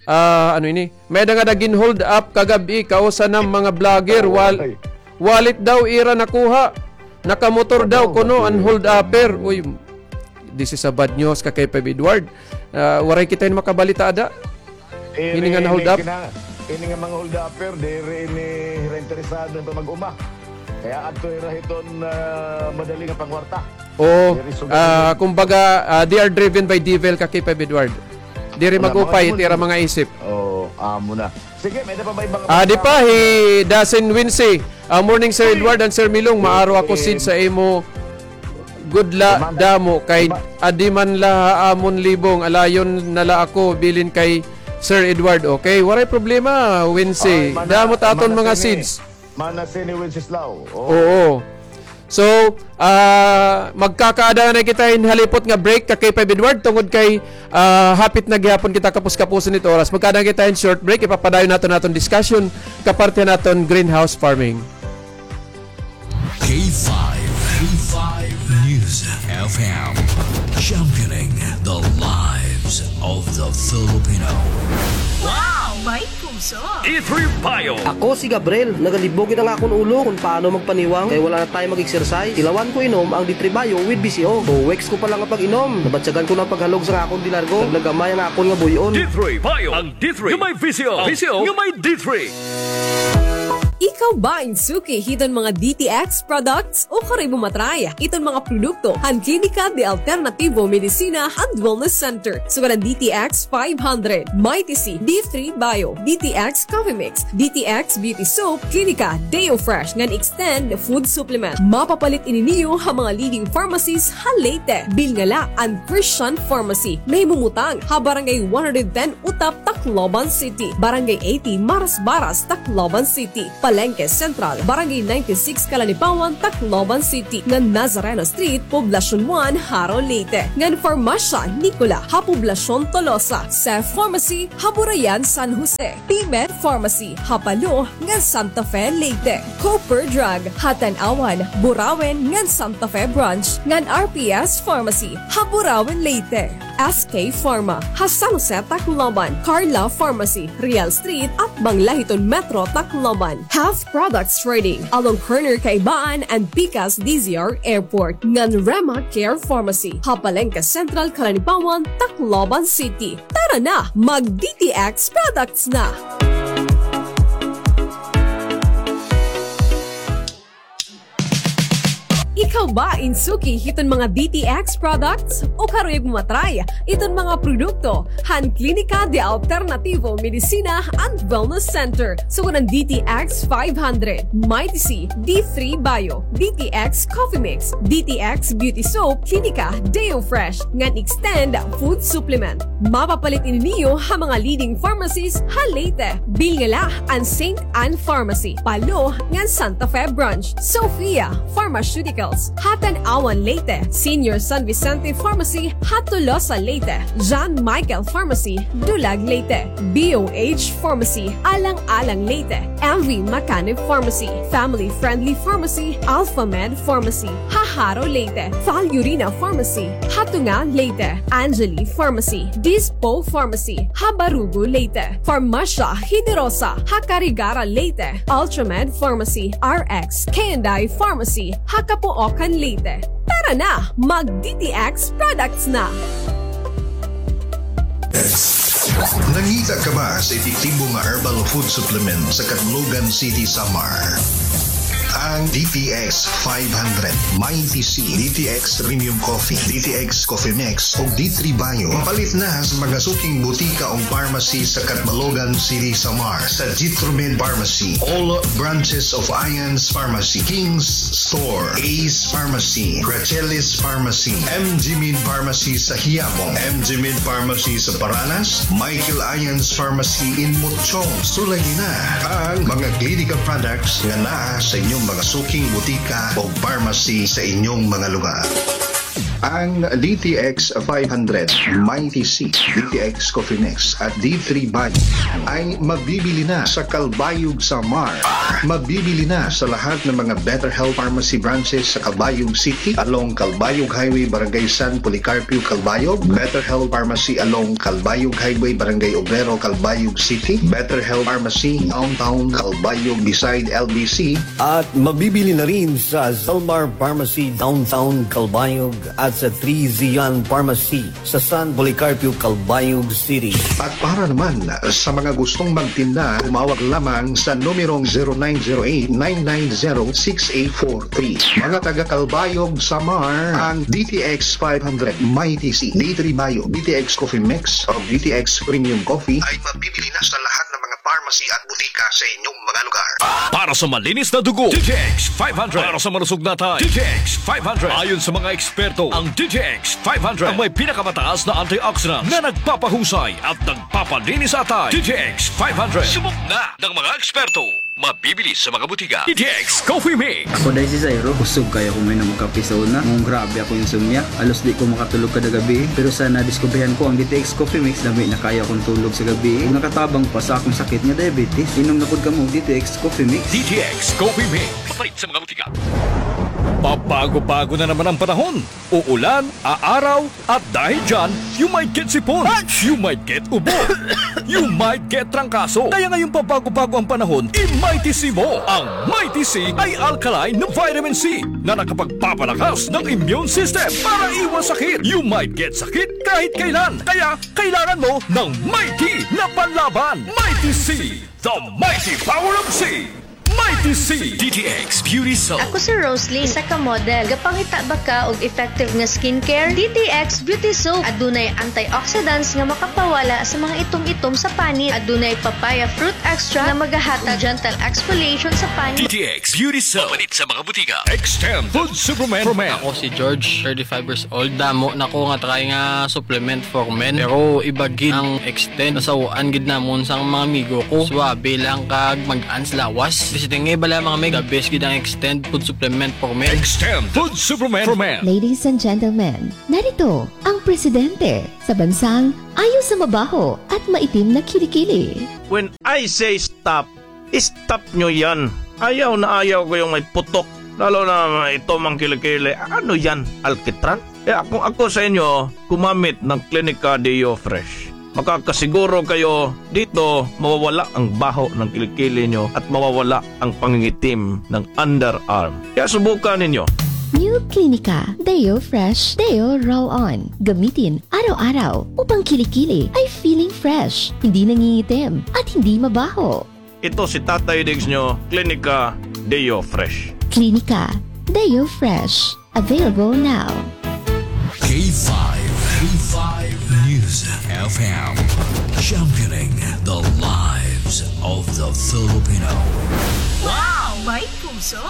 ah, ano ini? May-ada ngada gin-hold up kagab-i, kausa na mga vlogger. Wal-, wallet daw ira nakuha. Nakamotor daw kuno an hold upper. Uy, this is a bad news ka K five Edward. Ah, waray kita hin makabalita ada. Ini nga na-hold up? Ini nga mga hold upper, diri ini hira interesado pa mag-uma. Kay adto hira hiton, ah, madali nga pangwarta. Oo. Diri sugad ini. Kumbaga, ah, they are driven by devil ka K five Edward. Diri mag-upay it ira mga isip. Oo, amo na. Sige, may-ada pa ba ibang, ah, di pa, hi Dasin Wincy. Ah, morning, Sir Edward and Sir Milong. Maaro ako seeds ha imo gud la damo kay adi man la ha amon libong, alayon na la ako bilin kay Sir Edward. Okay, waray problema, Wincy. Damo ta aton mga seeds. Mana sini Wenceslao. Oo. So, ah, magkakaada na kita hin halipot nga break ka K five Edward tungod kay, ah, hapit na gihapon kita kapus-kapuson it oras. Magkaada na kita hin short break, ipapadayon naton aton discussion kaparte naton greenhouse farming. K five, K five News F M, championing the lives of the Filipino. Wow! May puso! D three Bio. Ako si Gabriel. Nagalibog gid an akon ulo kon paano magpaniwang kay wala na time mag-exercise. Tilawan ko inom ang D three Bio with V C O. Two weeks ko pa lang nga pag-inom, nabatyagan ko na an paghalog sa akon delargo. Naglagamay ang akon nga buy-on. D three Bio. Ang D three nga may V C O. V C O nga may D three. Ikaw ba in suki hiton mga D T X products o karoy mo matry iton mga produkto han Klinika de Alternativo Medicina and Wellness Center? Sugad han D T X five hundred, Mighty C, D three Bio, D T X Coffee Mix, D T X Beauty Soap, Klinika Deo Fresh ngan Extend Food Supplement. Mapapalit ini niyo ha mga leading pharmacies ha Leyte. Bilin la an Christian Pharmacy, nahimumutang ha Barangay one hundred ten Utap, Tacloban City, Barangay eighty Marasbaras, Tacloban City, Palengke Central, Barangay ninety-six Calanipawan, Tacloban City, ngan Nazareno Street, Poblacion one, Jaro, Leyte, ngan Farmasya Nicola ha Poblacion Tolosa, Seth Pharmacy ha Burayan, San Jose, T-Med Pharmacy ha Palo ngan Santa Fe, Leyte, Cooper Drug ha Tanauan, Burauen ngan Santa Fe Branch, ngan R P S Pharmacy ha Burauen, Leyte. S K Pharma ha San Jose, Tacloban, Carla Pharmacy, Real Street, atbang la hiton Metro Tacloban. Health Products Trading along corner Kaibaan and Pikas D Z R Airport, ngan Rema Care Pharmacy ha Palengke Central, Calanipawan, Tacloban City. Tara na, mag D T X products na! Ikaw ba in suki hiton mga D T X products o karuyag mo matry iton mga produkto han Klinika de Alternativo Medicina and Wellness Center? Sugad han D T X five hundred, Mighty C, D three Bio, D T X Coffee Mix, D T X Beauty Soap, Klinika Deo Fresh, ngan Extend Food Supplement. Mapapalit ini niyo ha mga leading pharmacies ha Leyte. Bilin la an Saint Anne Pharmacy, Palo, ngan Santa Fe Branch, Sophia Pharmaceuticals ha Tanauan, Leyte, Senior San Vicente Pharmacy ha Tolosa, Leyte, John Michael Pharmacy, Dulag, Leyte, B O H Pharmacy, Alang-alang, Leyte, M V Macanib Pharmacy, Family Friendly Pharmacy, Alpha Med Pharmacy ha Jaro, Leyte, Valurina Pharmacy ha Tunga, Leyte, Angeli Pharmacy, Dispo Pharmacy ha Barugo, Leyte, Farmasya Generosa ha Carigara, Leyte, Ultramed Pharmacy, R X K and I Pharmacy ha Capoocan, Leyte. Tara na, mag D T X products na! Nangita ka ba sa epektibo nga herbal food supplement sa Catbalogan City, Samar? Ang D T X five hundred, Mighty C, D T X Premium Coffee, D T X Coffee Mix, ug D three Bio. Mapalit na sa mga suking butika ug pharmacy sa Catbalogan City, Samar, sa Jitromed Pharmacy, all branches of Ions Pharmacy, King's Store, Ace Pharmacy, Gracelis Pharmacy, M G Med Pharmacy sa Quiapo, M G Med Pharmacy sa Paranas, Michael Ions Pharmacy in Mochong. Sulayi na ang mga clinical products nga naa sa inyong mga suking butika o pharmacy sa inyong mga lugar. Ang D T X five hundred, Mighty C, D T X Coffee Mix, at D three Bio ay mabibili na sa Calbayog, Samar. Mabibili na sa lahat ng mga Better Health Pharmacy branches sa Calbayog City, along Calbayog Highway, Barangay San Policarpio, Calbayog. Better Health Pharmacy along Calbayog Highway, Barangay Obrero, Calbayog City. Better Health Pharmacy Downtown Calbayog, beside L B C. At mabibili na rin sa Zalmar Pharmacy Downtown Calbayog at sa Three Zion Pharmacy sa San Policarpio, Calbayog City. At para naman sa mga gustong magtinda, tumawag lamang sa numerong zero nine zero eight, nine nine zero, six eight four three. Mga taga Calbayog, Samar, ang D T X five hundred, Mighty C, D three Bio, D T X Coffee Mix, o D T X Premium Coffee ay mabibili na sa lahat ng mga pharmacy at butika sa inyong mga lugar. Para sa malinis na dugo, D T X five hundred. Para sa malusog na atay, D T X five hundred. Ayon sa mga eksperto, ang D T X five hundred ang may pinakamataas na antioxidants na nagpapahusay at nagpapalinis sa atay. D T X five hundred. Subok na ng mga eksperto. Mabibili sa mga butika. D T X Coffee Mix. Ako, Day, si Zairo. Kusog kaayo ako mainom og kape sa una. Nganong grabe akong insomnia. Halos di ko makatulog kada gabii. Pero sa nadiskubrihan ko ang D T X Coffee Mix, lami na kaayo akong tulog sa gabii. Ug nakatabang pa sa akong sakit nga diabetes. Inom na pod kamo og D T X Coffee Mix. D T X Coffee Mix. Mapalit sa mga butika. Pabago-bago na naman ang panahon. Uulan, aaraw, at dahil dyan, you might get sipon, you might get ubo, you might get trangkaso. Kaya ngayong pabago-bago ang panahon, i-Mighty C mo. Ang Mighty C ay alkaline na vitamin C na nakapagpapalakas ng immune system para iwas sakit. You might get sakit kahit kailan. Kaya kailangan mo ng Mighty na panlaban. Mighty C, the mighty power of C. I T C, D T X Beauty Soap. Ako si Roslyn, isa ka model. Gapangita ba ka og effective nga skincare? D T X Beauty Soap. Adunay antioxidants nga makapawala sa mga itom-itom sa panit. Adunay papaya fruit extract nga magahatag gentle exfoliation sa panit. D T X Beauty Soap. Mapalit sa mga butika. Extend Food Supplement for Men. Ako si George, thirty-five years old. Damo na ko nga try nga supplement for men. Pero iba gid ang Extend. Nasaw-an gid namon sang mga amigo ko. Suabe lang kag mag-ans lawas. Basta tingay bala, mga mig, the best gid ang Extend Food Supplement for Men. Extend Food Supplement for Men. Ladies and gentlemen, narito ang presidente sa bansang ayaw sa mabaho at maitim na kilikili. When I say stop, stop nyo yan. Ayaw na ayaw ko yung may putok. Lalo na may itom ang kilikili. Ano yan? Alkitran? Kaya kung ako sa inyo, gumamit ng Clinica Deo Fresh. Makakasiguro kayo dito, mawawala ang baho ng kilikili nyo at mawawala ang pangingitim ng underarm. Kaya subukan ninyo. New Clinica Deo Fresh Deo Roll-On. Gamitin araw-araw upang kilikili ay feeling fresh, hindi nangingitim, at hindi mabaho. Ito si Tatay Diggs nyo, Clinica Deo Fresh. Clinica Deo Fresh. Available now. K five, K five News F M, championing the lives of the Filipino. Wow! May puso!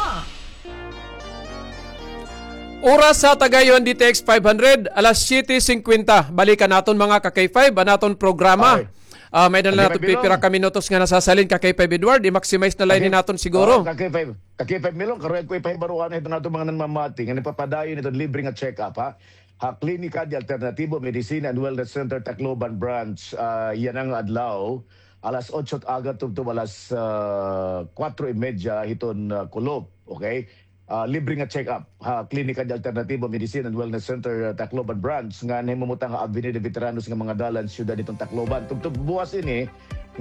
Oras sa Tagayon, D T X five hundred, alas siyete singkwenta. Balikan naton, mga ka-K five, an aton programa. Ay. Ah, may-ada na naton pipira ka minutos nga nasasalin, ka-K five Edward, i-maximize na la ini naton siguro. Oo, ka-K five, ka-K five Milong, karon ko ipahibaroan na hiton aton mga nanmamati nga nagpapadayon hiton libre nga check-up, ha? Ha Klinika de Alternativo Medicina and Wellness Center, Tacloban Branch, ah, yana nga adlaw, alas otso it aga tubtob alas, ah, kuwatro y media hiton, ah, kulop, okay? Ah, libre nga check-up ha Klinika de Alternativo Medicine and Wellness Center, ah, Tacloban Branch, nga nahimumutan ha Avenida Veteranos nga mga dalan, siyudad hiton Tacloban. Tubtob buwas ini,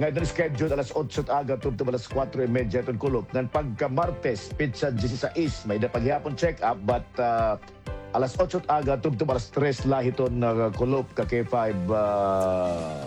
nga iton schedule alas otso it aga tubtob alas kuwatro y media hiton kulop. Ngan pagka Martes, petsa diyesisais, may-ada pa gihapon check-up, but, ah, alas otso it aga tubtob alas tres la hiton, ah, kulop, ka-K five, ah,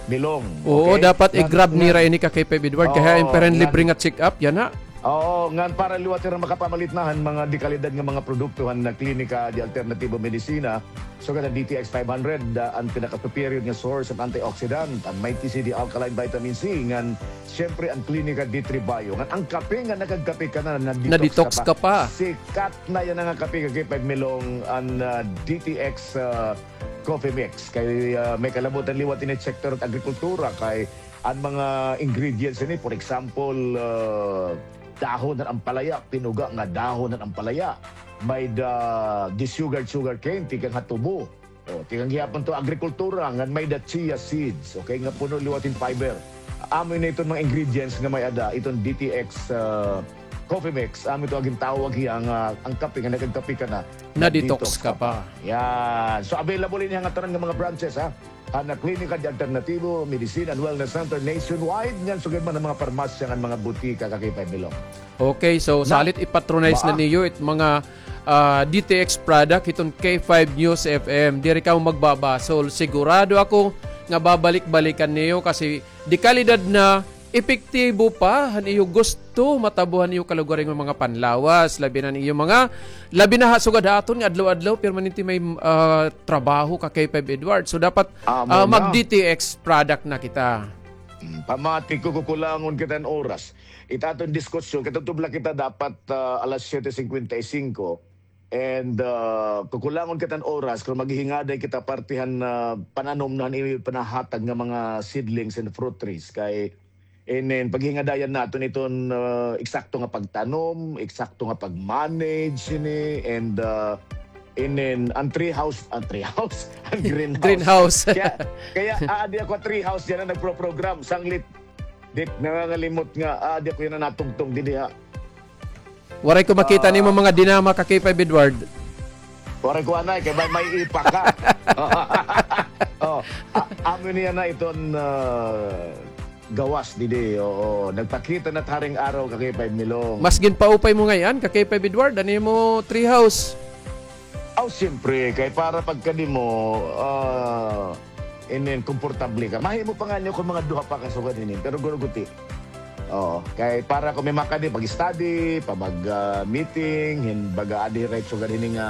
Milong. Oo, okay? Dapat i-grab nira ini, ka-K five Edward, kay hain pa hira libre nga check-up yana. Oo, ngan para liwat hira makapamalit na han mga dekalidad nga mga produkto han Klinika de Alternativo Medicina, sugad han D T X five hundred, ah, an pinaka-superior nga source of antioxidant, an Mighty C D Alkaline Vitamin C, ngan siyempre an Klinika D three Bio. Ngan an kape nga nakagkape ka na, na-detox ka pa. Sikat na yana nga kape, ka-K five Milong, an, ah, D T X, ah, Coffee Mix. Kay, ah, may kalabutan liwat ini sektor han agrikultura, kay an mga ingredients ini, for example, ah, dahon han ampalaya, pinuga nga dahon han ampalaya, may-ada desugared sugarcane, tikang ha tubo. O, tikang gihapon to agrikultura, ngan may-ada chia seeds, okay, nga puno liwat hin fiber. Amo ini iton mga ingredients nga may-ada iton D T X, ah, Coffee Mix, amo ito an gintawag hiya nga an kape nga nakagkape ka na, na-detox ka pa. Yan. So, available ini ha ngatanan nga mga branches, ha? Han Klinika de Alternativo Medicine and Wellness Center nationwide, ngan sugad man han mga parmasya ngan mga butika, ka-K five Milong. Okay, so salit i-patronize na niyo it mga, ah, D T X product hiton K five News F M. Diri kamo magbabasol. Sigurado ako nga babalik-balikan niyo kasi dekalidad na, epektibo pa han iyo gusto matabo han iyo kalugaringon mga panlawas, labi na han iyo mga, labi na ha sugad ha aton nga adlaw-adlaw permanente may, ah, trabaho, ka-K five Edward. So dapat, ah, mag-D T X product na kita. Mm, pamati ko, kukulangon kita hin oras. It aton diskusyon, katubtob la kita dapat, ah, alas siyete singkwenta y singko. And, ah, kukulangon kita hin oras, kon maghihingaday kita parte han, ah, pananom na han iyo pinahatag nga mga seedlings and fruit trees. Kay, inin, paghingadayan naton iton, ah, eksakto nga pagtanom, eksakto nga pag-manage ini, and, ah, inin, an tree house, an tree house, an greenhouse. Greenhouse. Kaya, kaya aadi ako ha tree house yana nagpro-program, sanglit. Di, nangangalimot nga, aadi ako yana natugtog didi ha. Waray ko makita nimo mga dinama, ka-K five Edward. Waray ko anay, kay may, may ipa ka. Oh, a-, amo niya na iton, ah, gawas didi. Oo, nagpakita na it haring araw, ka-K five Milong. Mas ginpaupay mo ngay-an, ka-K five Edward, an imo tree house. Aw, siyempre, kay para pagkadimo, ah, inin, komportable ka. Mahimo pa ngani kon mga duha pa ka sugad hini, pero guruguti. Oo. Kay para kon may makadi, pag-study, pa mag, ah, meeting, hin baga adi hira hit sugad hini nga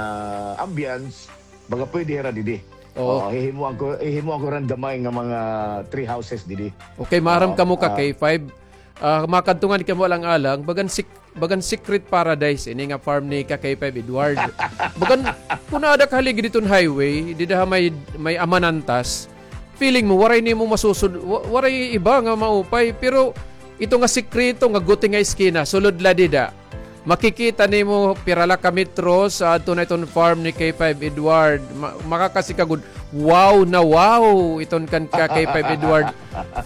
ambience, baga pwede hira didi. Oo. Oo, hihimuan ko, hihimuan ko hira hin gamay nga mga tree houses didi. Okay, maaram kamo ka K five. Ah, makadto ngani kamo alang-alang, bagan sik-, bagan secret paradise ini nga farm ni ka K five Edward. Bagan, kun aada ka haligi diton highway, dida ha may, may Amanantas, feeling mo, waray nimo masusud-, wa-, waray iba nga maupay, pero ito nga sikreto nga guti nga eskina, sulod la dida. Makikita nimo pira la ka metros, ah, adto na iton farm ni K five Edward. Ma-, makakasi ka gud, wow na wow iton kan ka K five Edward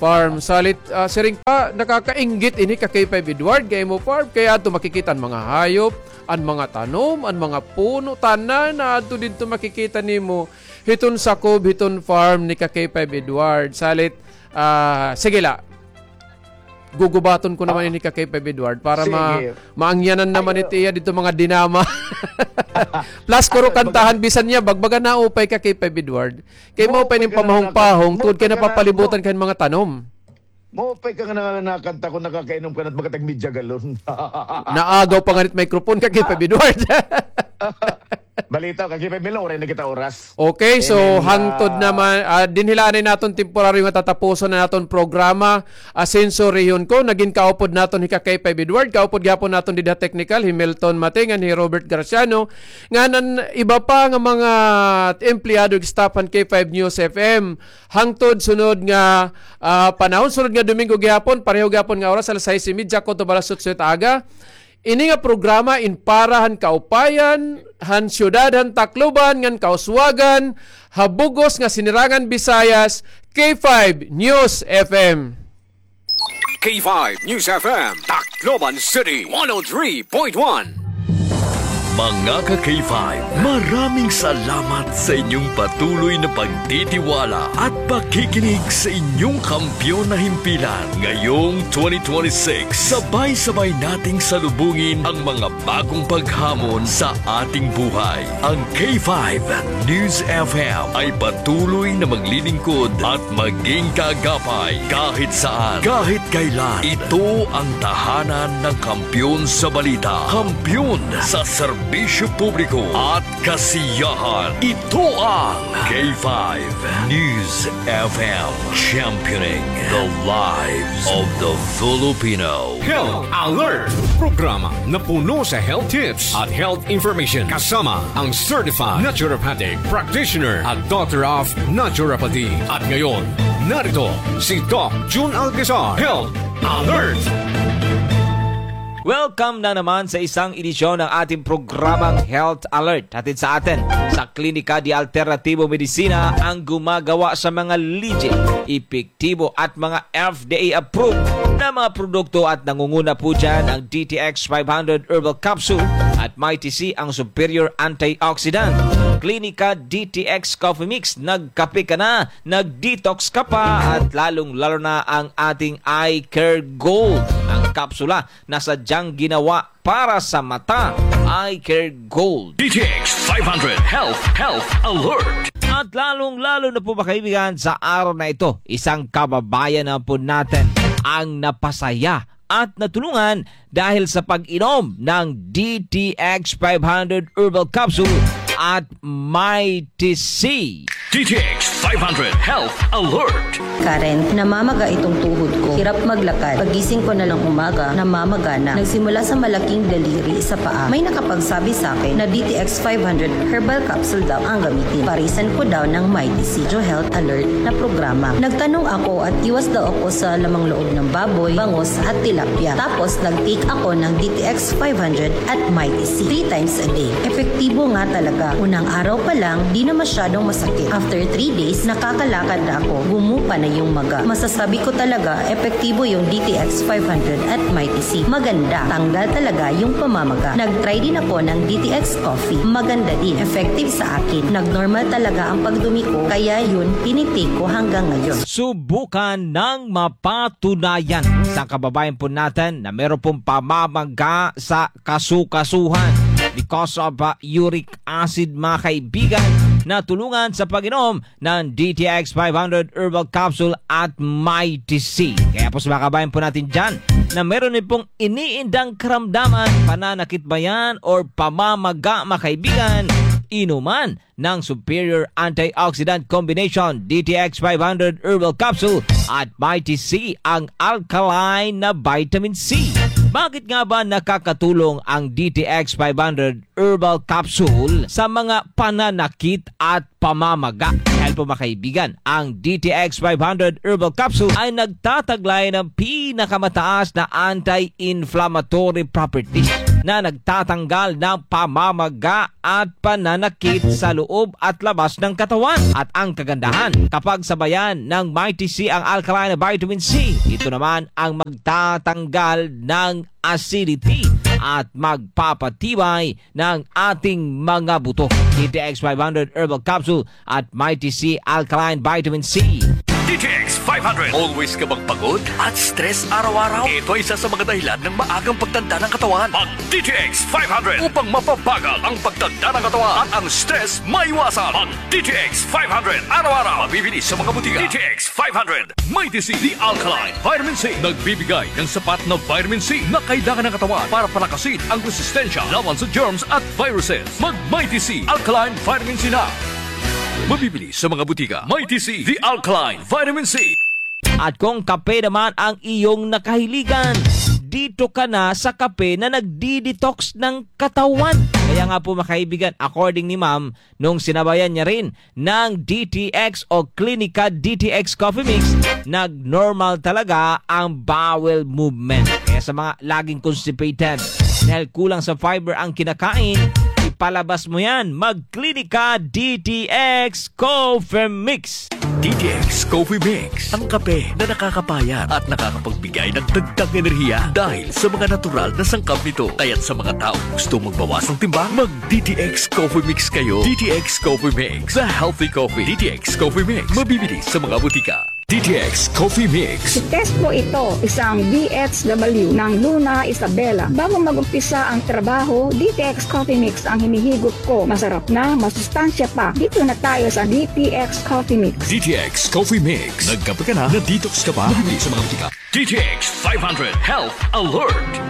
farm. Salit, ah, siring pa, nakakainggit ini ka K five Edward, kay imo farm, kay adto makikita an mga hayop, an mga tanom, an mga puno, tanan na adto didto makikita nimo. Hiton sakob, hiton farm ni ka K five Edward. Salit, ah, sige la. Gugubaton ko naman ini ka K five Edward para ma-, maangyanan naman iti iya didto mga dinama. Plus, kuro kantahan, bisan niya, bagbaga naupay ka K five Edward. Kay maupay ning pamahong-pahong, tungod kay napapalibutan ka hin mga tanom. Maupay ka nga na-, nakanta ko, nakakainom ka na baga tag media galon. Naagaw pa ngani it microphone ka, K five Edward. Balita ka, K five Milo, waray na kita oras. Okay, so hangtod naman, ah, dinhi la anay naton temporaryo nga tatapuson an aton programa. Asenso Rehon ko, nagin kaupod naton hi ka K five Edward, kaupod gihapon naton dida technical, hi Milton Mate, ngan hi Robert Graciano, ngan an iba pa nga mga empleyado, staff han K five News F M. Hangtod sunod nga, ah, panahon, sunod nga Domingo gihapon, pareho gihapon nga oras, alas sais y media kutob alas otso hit aga. Ini nga programa in para han kaupayan han siyudad han Tacloban ngan kauswagan ha bug-os nga Sinirangan Visayas, K five News F M. K five News F M, Tacloban City, one oh three point one. Mga ka K five, maraming salamat sa inyong patuloy na pagtitiwala at pakikinig sa inyong kampiyon na himpilan. Ngayong twenty twenty-six, sabay-sabay nating salubungin ang mga bagong paghamon sa ating buhay. Ang K five News F M ay patuloy na maglilingkod at maging kaagapay kahit saan, kahit kailan. Ito ang tahanan ng kampiyon sa balita, kampiyon sa serbisyo publiko at kasiyahan. Ito ang K five News F M, championing the lives of the Filipino. Health Alert, programa na puno sa health tips at health information kasama ang certified naturopathic practitioner at doctor of naturopathy. At ngayon, narito si Doc Jun Alcazar. Health Alert! Welcome na naman sa isang edisyon ng ating programang Health Alert. Hatid sa atin sa Klinika de Alternativo Medicina, ang gumagawa sa mga legit, epektibo at mga F D A approved na mga produkto, at nangunguna po dyan ang D T X five hundred Herbal Capsule at Mighty C, ang superior antioxidant. Klinika D T X Coffee Mix, nagkape ka na, nag-detox ka pa, at lalong-lalo na ang ating Eye Care Gold, ang kapsula na sadyang ginawa para sa mata. Eye Care Gold. D T X five hundred Health, Health Alert. At lalong-lalo na po, mga kaibigan, sa araw na ito, isang kababayan na po natin ang napasaya at natulungan dahil sa pag-inom ng D T X five hundred Herbal Capsule at Mighty C. D T X five hundred Health Alert. Karen, namamaga itong tuhod ko. Hirap maglakad. Pagising ko na lang umaga, namamaga na. Nagsimula sa malaking daliri sa paa. May nakapagsabi sa akin na D T X five hundred Herbal Capsule daw ang gamitin. Parisan ko daw ng Mighty C. Medyo health alert na programa. Nagtanong ako at iwas daw ako sa lamang loob ng baboy, bangus at tilapia. Tapos nag-take ako ng D T X five hundred at Mighty C three times a day. Epektibo nga talaga. Unang araw pa lang, di na masyadong masakit. After three days, nakakalakad na ako. Gumupa na yung maga. Masasabi ko talaga, epektibo yung D T X five hundred at Mighty C. Maganda. Tanggal talaga yung pamamaga. Nag-try din ako ng D T X Coffee. Maganda din. Effective sa akin. Nag-normal talaga ang pagdumi ko. Kaya yun, tinitake ko hanggang ngayon. Subukan ng mapatunayan sa kababayan po natin na meron pong pamamaga sa kasukasuhan because of, uh, uric acid, mga kaibigan, na tulungan sa pag-inom ng D T X five hundred Herbal Capsule at Mighty C. Kaya po sa mga kabayan po natin dyan, na meron din pong iniindang karamdaman, pananakit ba yan or pamamaga, mga kaibigan, inuman ng Superior Antioxidant Combination, D T X five hundred Herbal Capsule at Mighty C, ang alkaline na vitamin C. Bakit nga ba nakakatulong ang D T X five hundred Herbal Capsule sa mga pananakit at pamamaga? Dahil po, mga kaibigan, ang D T X five hundred Herbal Capsule ay nagtataglay ng pinakamataas na anti-inflammatory properties na nagtatanggal ng pamamaga at pananakit sa loob at labas ng katawan. At ang kagandahan, kapag sabayan ng Mighty C ang alkaline na vitamin C, ito naman ang magtatanggal ng acidity at magpapatibay ng ating mga buto. D T X five hundred Herbal Capsule at Mighty C Alkaline Vitamin C. D T X five hundred. Always ka bang pagod at stress araw-araw? Ito ay isa sa mga dahilan ng maagang pagtanda ng katawan. Mag D T X five hundred upang mapabagal ang pagtanda ng katawan at ang stress maiwasan. Mag D T X five hundred araw-araw. Mabibili sa mga butika. D T X five hundred. Mighty C, the alkaline vitamin C. Nagbibigay ng sapat na vitamin C na kailangan ng katawan para palakasin ang resistensya laban sa germs at viruses. Mag Mighty C, alkaline vitamin C na. Mabibili sa mga butika. Mighty C, the alkaline vitamin C. At kung kape naman ang iyong nakahiligan, dito ka na sa kape na nagdi-detox ng katawan. Kaya nga po, mga kaibigan, according ni Ma'am, nung sinabayan niya rin ng D T X o Clinica D T X Coffee Mix, nag-normal talaga ang bowel movement. Kaya sa mga laging constipated, dahil kulang sa fiber ang kinakain, ipalabas mo yan. Mag Clinica D T X Coffee Mix. D T X Coffee Mix, ang kape na nakakapayat at nakakapagbigay ng dagdag enerhiya dahil sa mga natural na sangkap nito. Kaya't sa mga taong gusto magbawas ng timbang, mag D T X Coffee Mix kayo. D T X Coffee Mix, the healthy coffee. D T X Coffee Mix, mabibili sa mga butika. D T X Coffee Mix. Si Tesco ito, isang D H W ng Luna Isabela. Bago mag-umpisa ang trabaho, D T X Coffee Mix ang hinihigop ko. Masarap na, masustansya pa. Dito na tayo sa D T X Coffee Mix. D T X Coffee Mix. Nagkape ka na, na-detox ka pa. Mabibili sa mga butika. D T X five hundred Health Alert.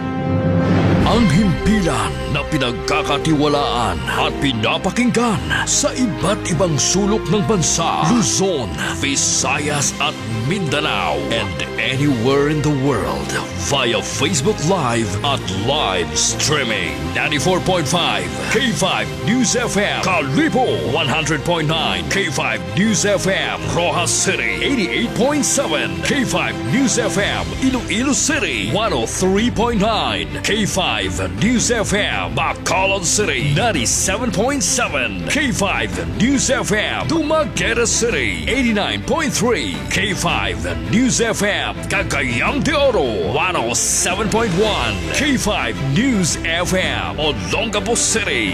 Ang himpilan na pinagkakatiwalaan at pinapakinggan sa iba't ibang sulok ng bansa, Luzon, Visayas at Mindanao, and anywhere in the world via Facebook Live at live streaming. Ninety-four point five K five News F M, Kalibo, one hundred point nine K five News F M, Roxas City, eighty-eight point seven K five News F M, Iloilo City, one oh three point nine K five News F M, Bacolod City, ninety-seven point seven K five News F M, Dumaguete City, eighty-nine point three K five News F M, Cagayan de Oro, one oh seven point one K five News F M, Olongapo City.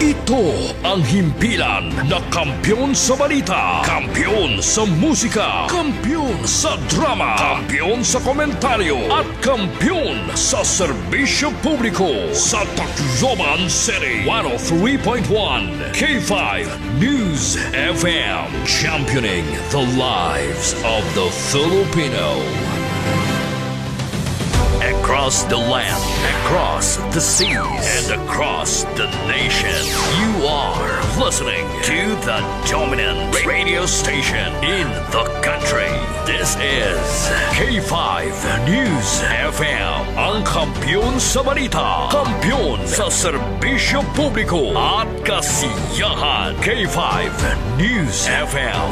Ito ang himpilan na kampiyon sa balita, kampiyon sa musika, kampiyon sa drama, kampiyon sa komentaryo, at kampiyon sa serbisyo publiko sa Tacloban City. One oh three point one K five News F M, championing the lives of the Filipino. Across the land, across the seas, and across the nation, you are listening to the dominant radio station in the country. This is K five News F M, ang kampiyon sa balita, kampiyon sa serbisyo publiko at kasiyahan. K five News F M,